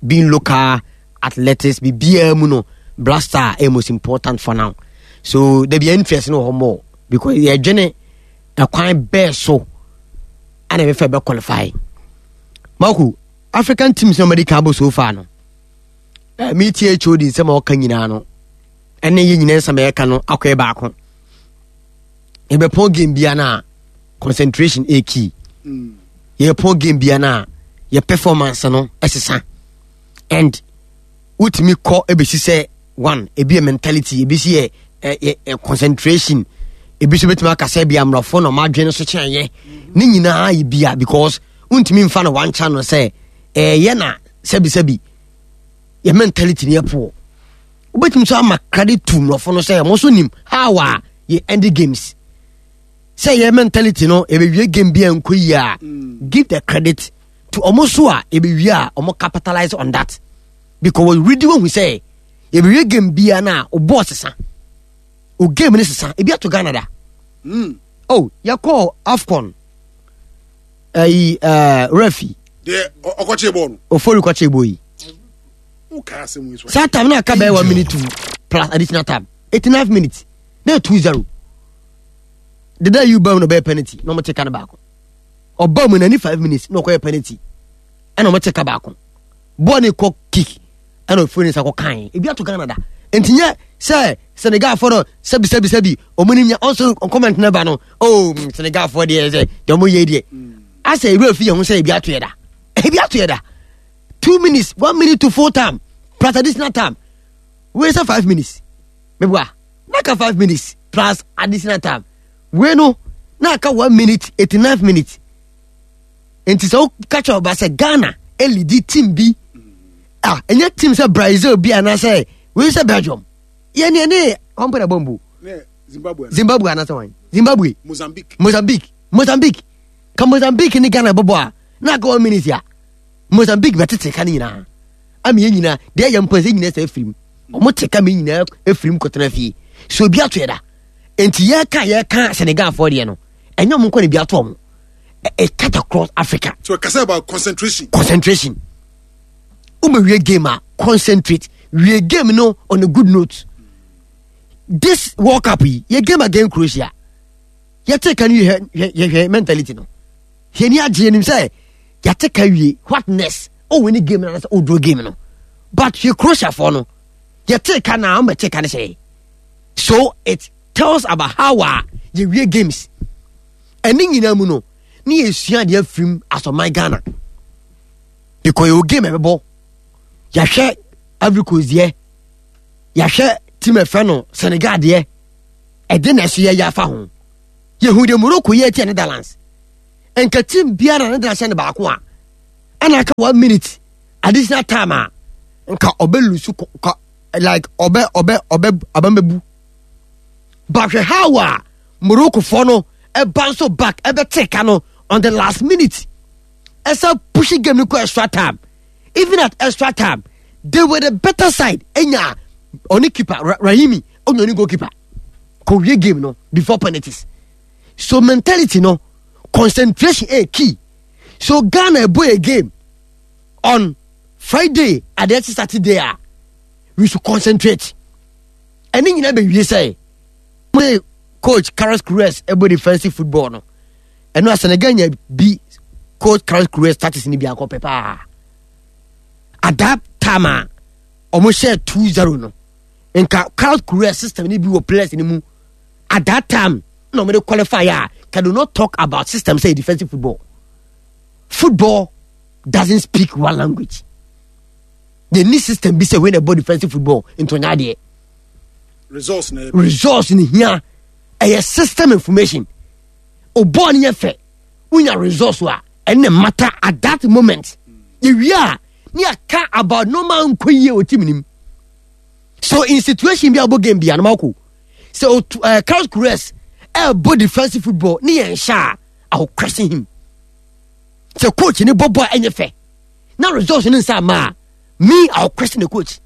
being local athletics, biribiara mu no, Blaster ɛyɛ most important for now. So dabi interest no wɔ hɔ more because yɛdwene ɛkwan bɛɛ so ɛna ɛbɛfɛ bɛ qualify. Mako, African teams na ɔmɛde kan bɔ so far no, ɛɛ mi tie H O D nsɛm a ɔka nyinaa no, ɛne yɛ nyinaa nsɛm a yɛka no akɔyɛ baako. Yɛbɛpɔn game bia no a, concentration ɛyɛ key. Yɛpɔn game bia no a, yɛ performance no ɛsesa and wotumi kɔ ɛbɛsi sɛ one, ebi yɛ mentality, ebi si yɛ ɛ ɛ concentration, ebi nso bɛtumi aka sɛ bi amorɔfo na ɔmo adwene so kyɛn yɛ ne nyinaa yɛ bia, because wontumi nfa no one channel sɛ ɛyɛ na sɛbisɛbi yɛ mentality ne yɛ poor. Wobɛtumi nso ama credit to mmorɔfo no sɛ ɔmo nso nim how a yɛ end games, sɛ yɛ mentality no yɛbɛwie game bi a nkɔ yie a, give the credit to ɔmo so a yɛbɛwie a ɔmo capitalize on that, because wɔredi wɔhu sɛ yɛbɛwie game bia no a, o bɔɔl sesa, o game no sesa. Ebi ato Ghana da. Mm. Oh, yɛkɔɔ AFCON ɛyi ɛɛ refi. Deɛ ɔ- ɔkɔkye bɔɔl no. Ofori kɔkye bɔ yi. Wokaa asɛm yi so. Saa time na aka bɛyɛ one minute two plus additional time, eighty nine minutes na two zero deda yi ba mu na ɔbɛyɛ penalty na ɔmo te ka no baako. Ɔba mu na ni five minutes na ɔkɔyɛ penalty ɛna ɔmo te ka baako. Bɔɔl ne kɔ kick ɛna ofiri ne nsa kɔ kan. Ebi ato Ghana da, nti nyɛ sɛ Senegal fɔ no sɛbi sɛbi sɛbi ɔmo ni nya ɔnso comment ne ba no. Oh, mm, Senegal fɔ deɛ, sɛ deɛ ɔmo yɛ deɛ asɛ ebi efi yɛn ho sɛ ebi ato yɛ da, ebi ato yɛ da. Two minutes, one minute to full time plus additional time. Wei sɛ five minutes meboa na aka five minutes plus additional time. Wei no na aka one minute, eighty nine minutes. Nti sɛ woka kyerɛ ɔba sɛ Ghana ɛlead team bi a ɛnyɛ team sɛ Brazil bi anaasɛ wei sɛ Belgium, yɛne ɛne ɔmpɛ na bɔmbo. Ne Zimbabwe. Zimbabwe anaasɛ wan? Zimbabwe. Mozambique. Mozambique, Mozambique ka Mozambique ne Ghana bɔbɔ a, na aka one minute a, Mozambique bɛtete ka no nyinaa ama yɛn nyinaa deɛ ɛyɛ mpo sɛ nyinaa sɛ afirim ɔmo te ka me nyinaa afirim kɔtena fie so. Obi ato yɛ da, nti yɛka yɛka Senegalfoɔ deɛ no, ɛnyɛ ɔmo nkɔ ne bi ato ɔmo. It cut across Africa. So kasa about concentration. Concentration. Wobɛwie game a, concentrate, wie game no on a good note. This World Cup yi, yɛ game against Croatia, yɛte ka no, yɛhwɛ yɛhwɛ mentality no, yɛni agye yɛnim sɛ yɛate ka wie. What next? Oh, win game no anasɛ woduro game no, but hwɛ Croatia foɔ no, yɛte ka na ɔmbɛte ka no sɛ, so it tells about how a yɛwie games. Ɛne nyinaa mu no ne yɛsua adeɛ afirim asɔman Ghana, because yɛwɔ game ɛbɛbɔ, yɛahwɛ Ivory Coast deɛ, yɛahwɛ team ɛfɛ no Senegal deɛ, ɛde na ɛso yɛyɛ afa ho. Yɛhu deɛ Morocco yɛ tia Netherlands. Nka team biara na Netherlands hyɛ no baako a, ɛna aka one minute additional time a, nka ɔbɛ lose kɔ like ɔbɛ ɔbɛ ɔbɛ abɛmɛbu. But hwɛ how a Morocco foɔ no ɛba nso back ɛbɛte ka no on the last minute. Ɛsɛ push game no kɔ extra time. Even at extra time, they were the better side. Enya oni keeper Rahimi onye oni goalkeeper. Kò game no before penalties. So mentality no, concentration eh key. So Ghana boy a game on Friday at the Saturday ah, we should concentrate. And then you never you say, coach Carlos Queiroz ebo defensive football no. And no Senegal be coach Carlos Queiroz tactics ni bi akɔ pepa. At that time ah, almost share two zero no. Nka Carlos Queiroz system ni bi wɔ players ni mu. At that time, no me qualify ah, can do not talk about system say defensive football. Football doesn't speak one language. The new system be say when about defensive football into there. Results na results in here. A system information. O born here fe. Unya results wa and the matter at that moment. You are near car about no man nkoye o team nim. So in situation bi abo game bi anamako. So uh, Carlos Queiroz eh bo defensive football ni yen sha I will question him. So coach ni bobo enye fe. Now results ni nsa ma me I will question the coach.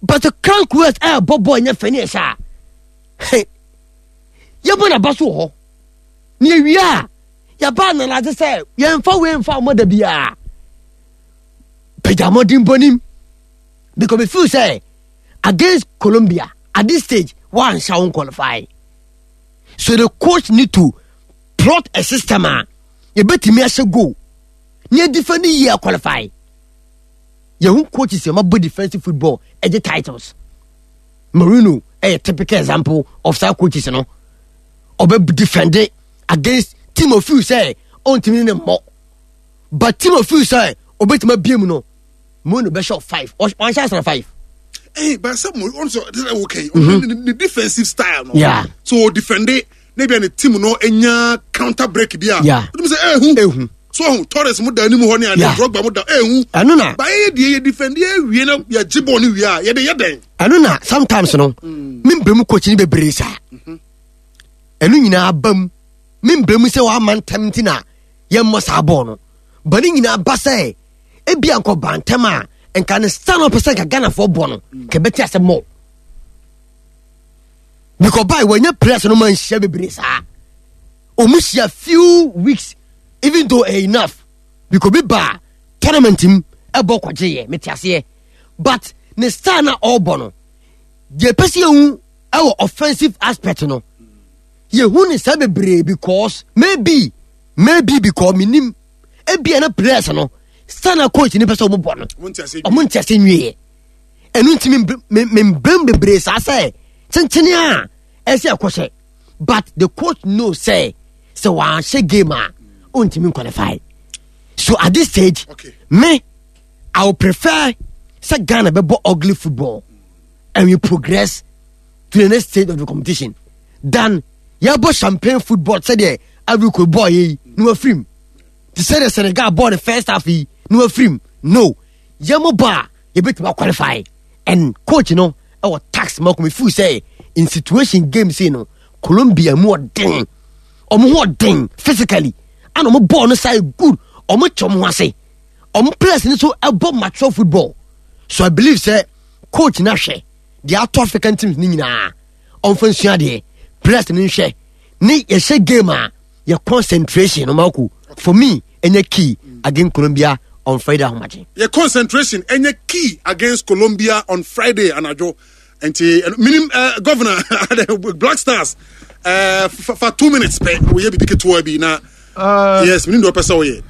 But the Carlos Queiroz eh bobo enye fe ni sha. Hey. Ye bo na baso ho. Ni ewia ya ba na na say ye mfa we mfa mo da bia. Pejamodin bonim. Because we feel say against Colombia at this stage one shall qualify. So the coach need to plot a system. You bet me as a go. Near defend year qualify. Your own coaches your defensive football at the titles. Mourinho a typical example of some coaches, you know. Obe defend it against team of few say on team in more. But team of few say obey to my B M no. Mourinho be shot five. One shot five. Hey, but some also okay. Mm-hmm. The defensive style, no? Yeah. So defend it. Maybe any team no enya counter break bia. Yeah. You say eh who? So Torres mo da ni mu ho ni and Drogba mo da eh who? Anu na. Ba eh die defend eh wie na ya jibo ni wie a ye de ye den. Anu na sometimes no. Me mbremu coach ni bebre sa. Enu nyina abam. Me mbremu se wa man tem ti na ye mo sa bo no. Ba ni nyina ba se e bia nko ba ntem a nka ne stand up percent ka Ghana for bo no. Ke beti ase mo. Because by when you press no man share bebre sa. Omusia few weeks even though eh, enough because be ba tournament him e bo kwaje ye metiase. But ne star na all bono. The person who our offensive aspect no. Ye hu ne sa bebre because maybe maybe because minim e bia na press no star na coach ni person mo bo no. Omo ntiase nwie. Enu ntimi me me bebre sa say chenchene a e se ekwohye. But the coach knows say so one share game a ontimi qualify. So at this stage, okay, me I would prefer say Ghana be bo ugly football and we progress to the next stage of the competition than ya bo champagne football say there every could boy yi no afrim. To say the Senegal ball the first half yi no afrim. No. Ya mo ba you bet qualify and coach you know our tax mark me feel say in situation game say no Colombia more ding or more ding physically and omo ball no side good omo chom ho ase omo players ni so ebo mature football. So I believe say coach na hwe the out African teams ni nyina omfa nsua de players ni hwe ni ye hye game a your concentration no mako for me enye key against Colombia on Friday ahomache. Your concentration enye key against Colombia on Friday anajo. And minim uh, governor Black Stars uh, for two minutes pe we be big to be na uh, yes minim do pesa we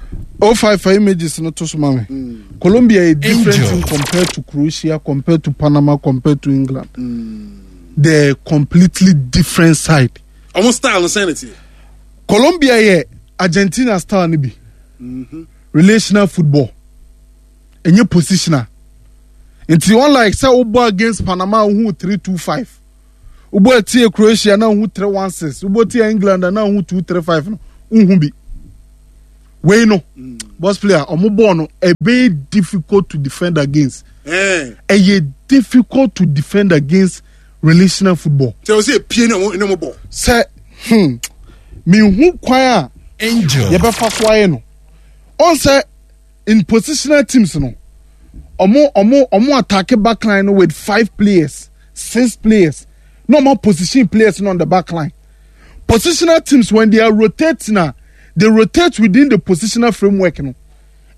oh five five images no to so mame. Mm. Colombia is different team compared to Croatia, compared to Panama, compared to England. Mm. They're completely different side. Almost style and sanity. Colombia yeah, Argentina style ni bi. Mm-hmm. Relational football. Enye positional. Nti unlike sɛ wobɔ against Panama wohu three two five, wobɔ tie Croatia na wohu three one six, wobɔ tie England na wohu two three five no, wohu bi. Wei no, boss player, ɔmo bɔɔl no ɛbɛyɛ difficult to defend against. Ɛyɛ difficult to defend against relational football. Sɛ o sɛ epie ne ɔmo ne ɔmo bɔ. Sɛ hmm mihu kwan a yɛbɛfa so ayɛ no ɔn sɛ in positional teams no ɔmo ɔmo ɔmo attack backline no with five players six players no ɔmo position players no on the backline positional teams when they are rotating na they rotate within the positional framework no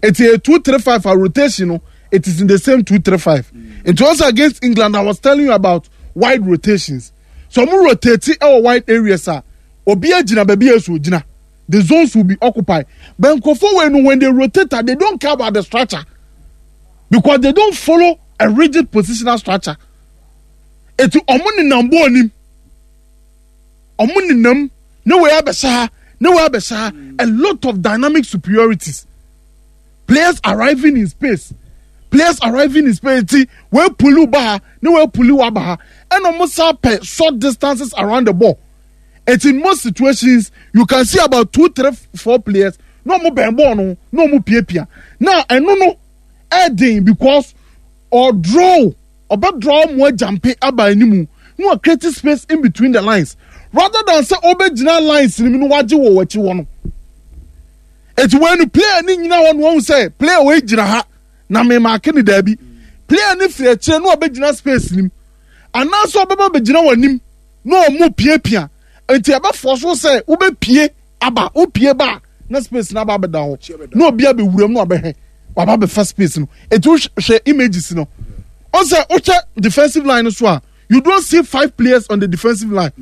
it's a two three five a rotation no it is in the same two three five mm. It was against England I was telling you about wide rotations so ɔmo rotate ɛwɔ wide areas a obi agyina baabi a ɛsɛ ogyina the zones will be occupied but nkurɔfoɔ wei no when they rotate ah they don't care about the structure because they don't follow a rigid positional structure eti ɔmo nenam bɔɔl nim ɔmo nenam ne wei abɛhyɛ ha ne wei abɛhyɛ ha a lot of dynamic superiorities players arriving in space players arriving in space ti wei pull ba ha ne wei pull wa ba ha ɛna ɔmo sa pɛ short distances around the ball it's in most situations you can see about two three four players na ɔmo bɛn bɔɔl no na ɔmo piapia na ɛno no ɛɛden because ɔdraw ɔbɛ draw mo ajump aba anim na wa create space in between the lines rather than sɛ ɔbɛgyina lines ni mu na wagye wɔ wɔakyi hɔ no eti wɔn no player ni nyina hɔ no wɔn sɛ player wɔ gyina ha na mɛmaake ne daabi player ni firi akyire na ɔbɛgyina space nim anaasɛ ɔbɛba bɛgyina wɔn anim na ɔmo piapia nti ɛbɛfɔ so sɛ wobɛpie aba wopie ba na space na aba abɛda hɔ na obi abɛwura mu na ɔbɛhwɛ waba abɛfa space no eti wohwɛ images no ɔsɛ wohwɛ defensive line no so a you don't see five players on the defensive line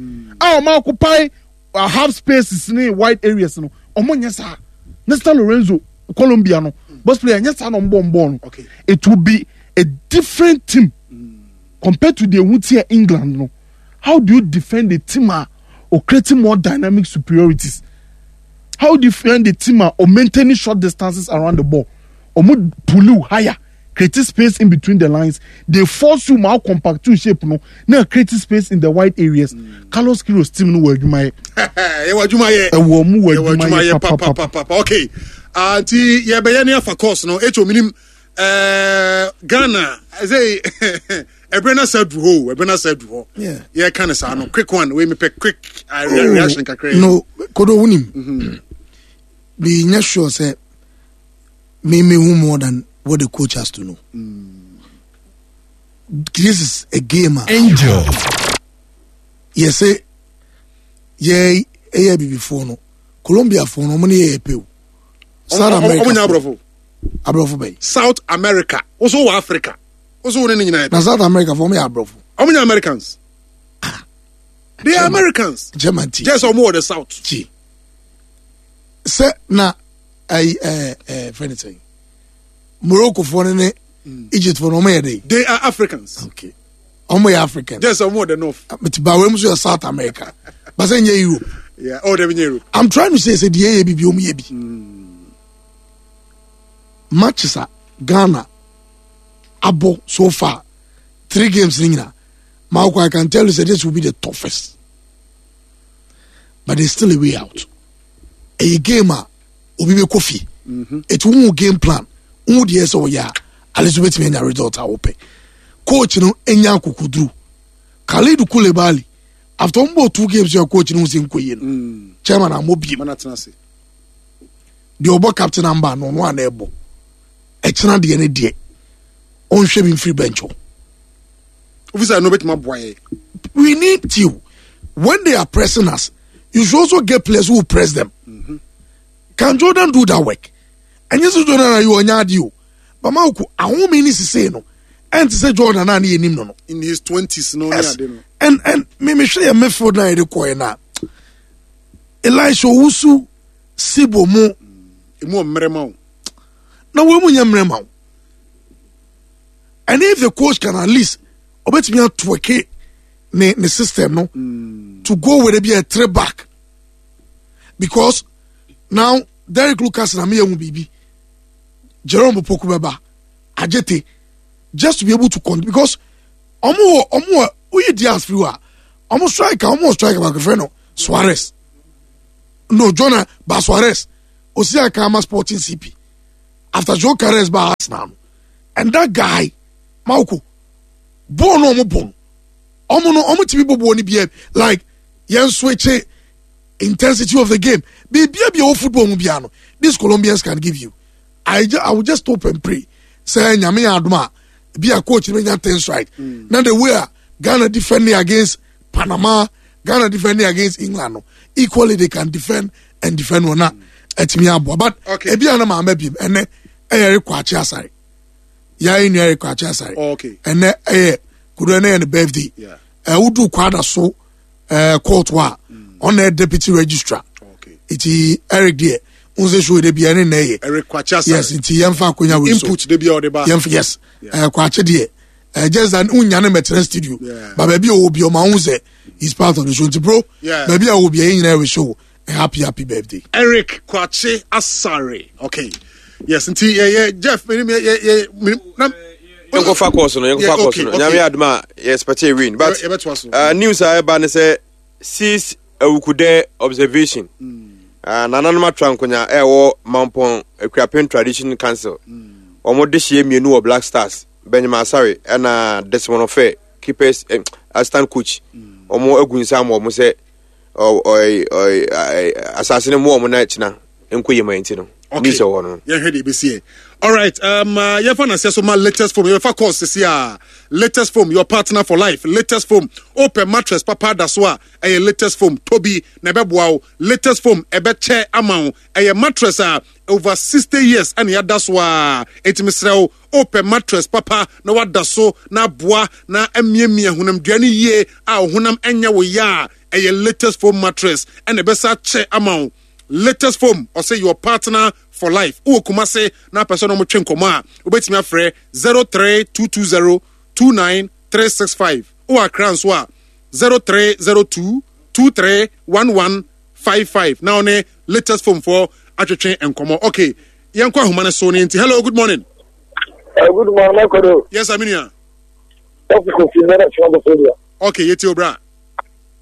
a ɔmo occupy uh, half spaces ne wide areas no ɔmo nyɛ saa Nestor Lorenzo Colombia no boss player nyɛ saa na ɔmo bɔ ɔmo bɔɔl no Okay. it will be a different team compared to the ehun England no how do you defend a team a or creating more dynamic superiorities how do you defend the team a or maintaining short distances around the ball ɔmo pull you higher create space in between the lines they force you ma compact to shape no na create space in the wide areas mm. Carlos Queiroz team no wɔ adwuma yɛ yɛwɔ adwuma yɛ ɛwɔ ɔmo wɔ yɛwɔ adwuma yɛ papapapa papapapa okay Ah, nti yɛbɛyɛ ne afa course no ɛkyɛ ominim ɛɛ ghana ɛsɛ ɛbrɛ na sɛ du hɔ o ɛbrɛ na sɛ du hɔ Yeah. yɛka ne saa no quick one wei mepɛ quick uh, re- reaction kakra yi. no kodo wonim menyɛ sure sɛ me mehu more than what the coach has to know this is a game a Angel. yɛsɛ yɛ ɛyɛ bibifoɔ no colombiafoɔ no ɔmo ne yɛ yɛ pɛ o south Ɔmo- ɔmo america ɔmo nya aborɔfo aborɔfo bɛyi south america woso wɔ africa woso wo ne ne nyinaa yɛ na south america foɔ ɔmo yɛ aborɔfo ɔmo nya americans they are americans german ti just ɔmo wɔ the south ti sɛ na ɛyi ɛɛ ɛɛ fɛn sɛn morocco foɔ no ne egypt foɔ no ɔmo yɛ de they are africans okay ɔmo yɛ african just ɔmo wɔ the north but bawɛ mu so yɛ south america basɛ nyɛ europe yeah oh dem nyɛ europe i'm trying to say sɛ deɛ yɛ bi bi ɔmo yɛ bi matches a ghana abɔ so far three games ni nyina maako i can tell you say this will be the toughest but there's still a way out ɛyɛ game a obi bɛ kɔ fie etu hu game plan hu deɛ sɛ ɔyɛ a ale so bɛtumi anya result a wɔpɛ coach no enya akokoduru Kalidou Koulibaly after wɔn bɔ two games yɛ coach no ho sɛ nkɔ yie no chairman amɔ biem mana tena ase deɛ ɔbɔ captain amba no ɔno ana ɛbɔ ɛkyena deɛ ne deɛ ɔnhwɛ bi mfiri bench hɔ officer no bɛtumi aboa yɛ we need you when they are pressing us you should also get players who will press them can jordan do that work ɛnyɛ sɛ jordan ayi ɔnya adi o bama oko ahome ni sise no ɛnti sɛ jordan a ne yɛ nim no no in his twenties no ne yes ade no and and me me hwɛ yɛ midfield na yɛde kɔɛ na elisha owusu sibo mu emu ɔmmerɛ ma wo na wɔn mu nyɛ mmerɛ ma wo and if the coach can at least ɔbɛtumi atwerk ne ne system no to go with ebi a three back because now Derek Lucas na mi yɛ hu biribi Jerome Poku bɛba Ajete just to be able to con because ɔmo wɔ ɔmo wɔ oyi Diaz firi hɔ a ɔmo striker ɔmo wɔ striker baako fɛ no Suarez no Jonah ba Suarez osi aka ama Sporting CP after Gyökeres ba Arsenal no and that guy Mauko bɔɔl no ɔmo bɔ no ɔmo no ɔmo tumi bɔ bɔɔl no bia like yɛn switch intensity of the game biribiara bi a ɛwɔ football mu biara no these Colombians can give you I, ju I will just hope and pray sɛ nyame yɛ adom a bi a coach no bɛnya things right mm. na the way a Ghana defending against Panama Ghana defending against England no equally they can defend and defend wɔn a ɛtumi aboa but Okay. ebi a na maama bi ɛnɛ ɛyɛ rekɔ akye asare yɛayɛ nua rekɔ akye asare Oh, okay. ɛnɛ ɛyɛ kudu ɛnɛ yɛ ne birthday Yeah. ɛɛ wodu kwada so ɛɛ court hɔ a ɔna yɛ deputy registrar Okay. nti Eric deɛ n sɛ show de bi ɛne na ɛyɛ Eric Kwakye Asare. yes nti yɛmfa akonya wei so Input de bi a ɔde ba. yɛmfa yes ɛɛ kwakye deɛ ɛɛ just that n nya ne mɛtɛrɛ studio Yeah. ba baabi a ɔwɔ bi ɔma n sɛ he is part of the show nti bro Yeah. baabi a ɔwɔ bi ɛyɛ nyinaa wɔ show a happy happy birthday. Eric Kwakye Asare. Okay. Yes, nti yɛ yɛ Jeff mi yɛ yɛ yɛ mi na. yɛnkɔfa course no yɛnkɔfa Yeah, course okay, no okay. nyame adom a yɛ expect a win but Yɛ- yɛbɛtoa so. uh, news a ɛba ne sɛ six awukudɛ observation uh, nananom atra nkonya ɛwɔ mampɔn akuapem tradition council wɔn de hyia mmienu wɔ black stars benjamin asare ɛna desmond ofe keepers eh, assistant coach wɔn agu nsa ama wɔn sɛ ɔ- ɔy- ɔy- ɛ- asase no mu wɔn na kyina nkɔ yie ma nti no Okay. news ɛwɔ no yɛhwɛ deɛ ɛbɛsi ɛ alright um, uh, yɛfa naseɛ so ma latest foam yɛbɛfa course sisi a latest foam your partner for life latest foam wopɛ mattress papa da so a ɛyɛ latest foam tobi na ɛbɛboa wo latest foam ɛbɛkyɛ ama wo ɛyɛ mattress a over sixty years ɛna yɛada so a ɛtumi serɛ wo wopɛ mattress papa na wada so na aboa na amiamia honamdua no yie a wo honam ɛnyɛ wo yɛ a ɛyɛ latest foam mattress ɛna ɛbɛsa kyɛ ama wo latest foam ɔsɛ your partner for life wowɔ kumase na apɛ sɛ na ɔmotwe nkɔmmɔ a wobɛtumi afrɛ zero three two two zero two nine three six five wowɔ akra nso a zero three zero two two three one one five five na ɔne latest foam foɔ atwetwe nkɔmmɔ okay yɛnkɔ ahoma no so ne nti hello good morning Uh, good morning, Makodo. yes aminia Dɔkita Kofi Mẹ́rẹ̀ tí wọ́n bọ̀ sórí ẹ̀. okay yɛtie obra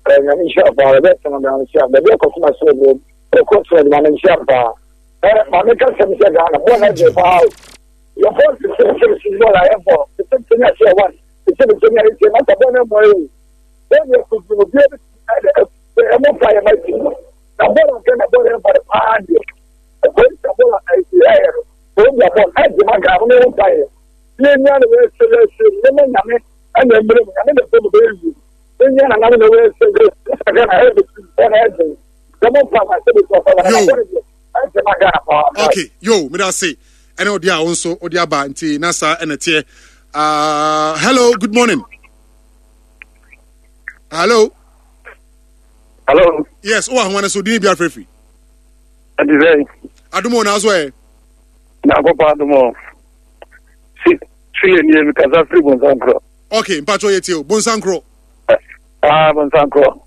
Nyame nhyira paa, ɛbɛ sɛnɛ bɛ nhyira. Baabi a kɔsoma so ɛbɛ ɛkɔ so ɛdima no nhyira paa. Ɛ maame ka sɛm sɛ Ghana bɔɔl na gye paa o. Yɛ bɔɔl ti sɛ sɛ sɛ bɔɔl a yɛ bɔ. Sɛ sɛ ní ahyɛ one. Sɛ sɛ sɛ ní ayɛ sɛ masa bɔɔl na ɛmɔ yɛ o. Bɔɔl yɛ kutu obi ɛbɛ ɛmɔ fa yɛ ma ti. Na bɔɔl nkɛ na bɔɔl yɛ bɔ paa deɛ. Ɛkɔ sɛ bɔɔl a ɛyɛ yɛ no. Bɔɔl yɛ bɔɔl ɛgye ma Ghana mo fa yɛ. Ní ní àná wɔ ɛsɛ ɛsɛ ní mɛ nyame ɛna ɛmmerɛ mu nyame na ɛfɛ mu bɛyɛ wie. Ní ní àná na wɔ ɛsɛ ɛsɛ Ghana ɛyɛ bɛ tu ɛna ɛgye. Dɛmɔ fa ma sɛ bɛ tu ɔfa ma na Yo. bɔɔl deɛ ɛgye ma Ghana paa. okay yo meda ase ɛne ɔde a wo nso wode aba nti na saa ɛna teɛ uh, hello good morning hello Hello. yes wowɔ ahoma no so dini bi afrɛfiri Ɛdi sɛ adom o na so ɛ Nyankopɔn adom o. Si si yɛ nie mi kasa firi Bonsankorɔ. okay mpatwɛ yɛtie o bonsankorɔ Ah Bonsankorɔ.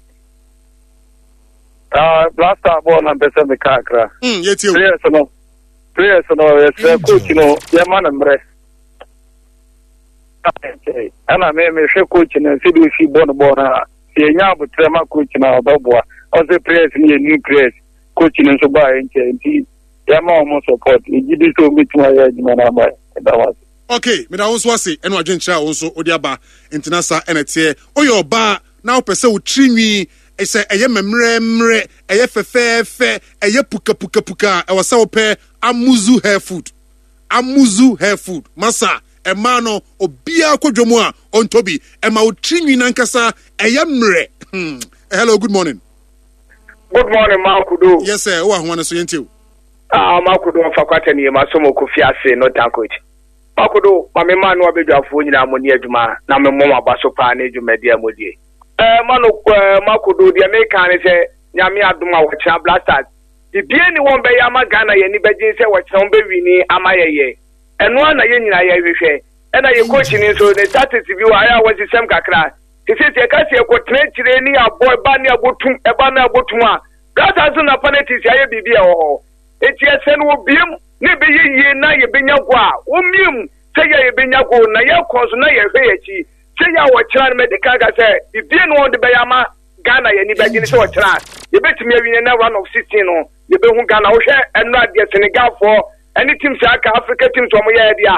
Ah Blaster bɔɔl na mpɛ sɛ meka akra. mm, yɛtie o Players no players no yɛsrɛ coach no yɛma no mmerɛ. Ɛna me mehwɛ coach no sɛdeɛ osi bɔ no bɔɔl no a sɛ yɛnya abotrɛ ma coach no a ɔbɛboa. Ɔsɛ players no yɛ new players. Coach no nso baa yɛ nkyɛn nti yɛma wɔn support. Egyi di sɛ wɔbɛtumi ayɛ adwuma no ama yɛ. Ɛda wo ase. okay meda wo nso ase ɛne wadwenkyerɛ a wo nso wode aba nti na saa ɛna teɛ woyɛ ɔbaa na wopɛ sɛ wo tiri nwi sɛ ɛyɛ mmerɛmmerɛ ɛyɛ fɛfɛɛfɛ ɛyɛ pukapukapuka a ɛwɔ sɛ wopɛ amuzu hair food amuzu hair food masa ɛmaa no obiara kɔ dwom a ɔntɔ bi ɛma wo tiri nwi nankasa ɛyɛ mmerɛ Hmm. hello good morning Good morning, Makudo. yes sir wowɔ ahoma no so yɛntie o Ah, Makudo mfa kwata ni ma so mo kofi ase no tankoch. Makudo, ma me ma no abedwafoɔ nyinaa mo ni adwuma na me mmɔ aba so paa ne dwumadi a mo die. Eh, ma no eh, Makudo deɛ meka ne sɛ nyame adom a wɔkyena Blasters. Bibie ni wɔn bɛyɛ ama Ghana yɛ ni bɛgye sɛ wɔkyena wɔn bɛwini ama yɛyɛ. Ɛno ara na yɛn nyinaa yɛhwehwɛ. Ɛna yɛ coach ni nso ne tactics bi wɔ ayɛ a wɔsesɛm kakra. Sisi sɛ ɛka sɛ yɛkɔtena akyire ne abɔ ɛba ne abotum ɛba ne abotum a Blasters nso na penalties ayɛ biribi a ɛwɔ hɔ eti ɛsɛ no wɔbiem na ɛbɛyɛ yie na yɛbɛnya go a wɔmiem Sɛ yɛ yɛbɛnya goal na yɛkɔ nso na yɛhwɛ yɛ akyi sɛ yɛ a wɔkyerɛ no, mɛde kan ka sɛ bibie no wɔn de bɛyɛ ama Ghana yɛ ani bɛgye ne sɛ wɔkyerɛ a yɛbɛtumi awie na round of sixteen no yɛbɛhu Ghana. Wohwɛ ɛno adeɛ, Senegalfoɔ ɛne teams a aka, Africa teams wɔn yɛ deɛ a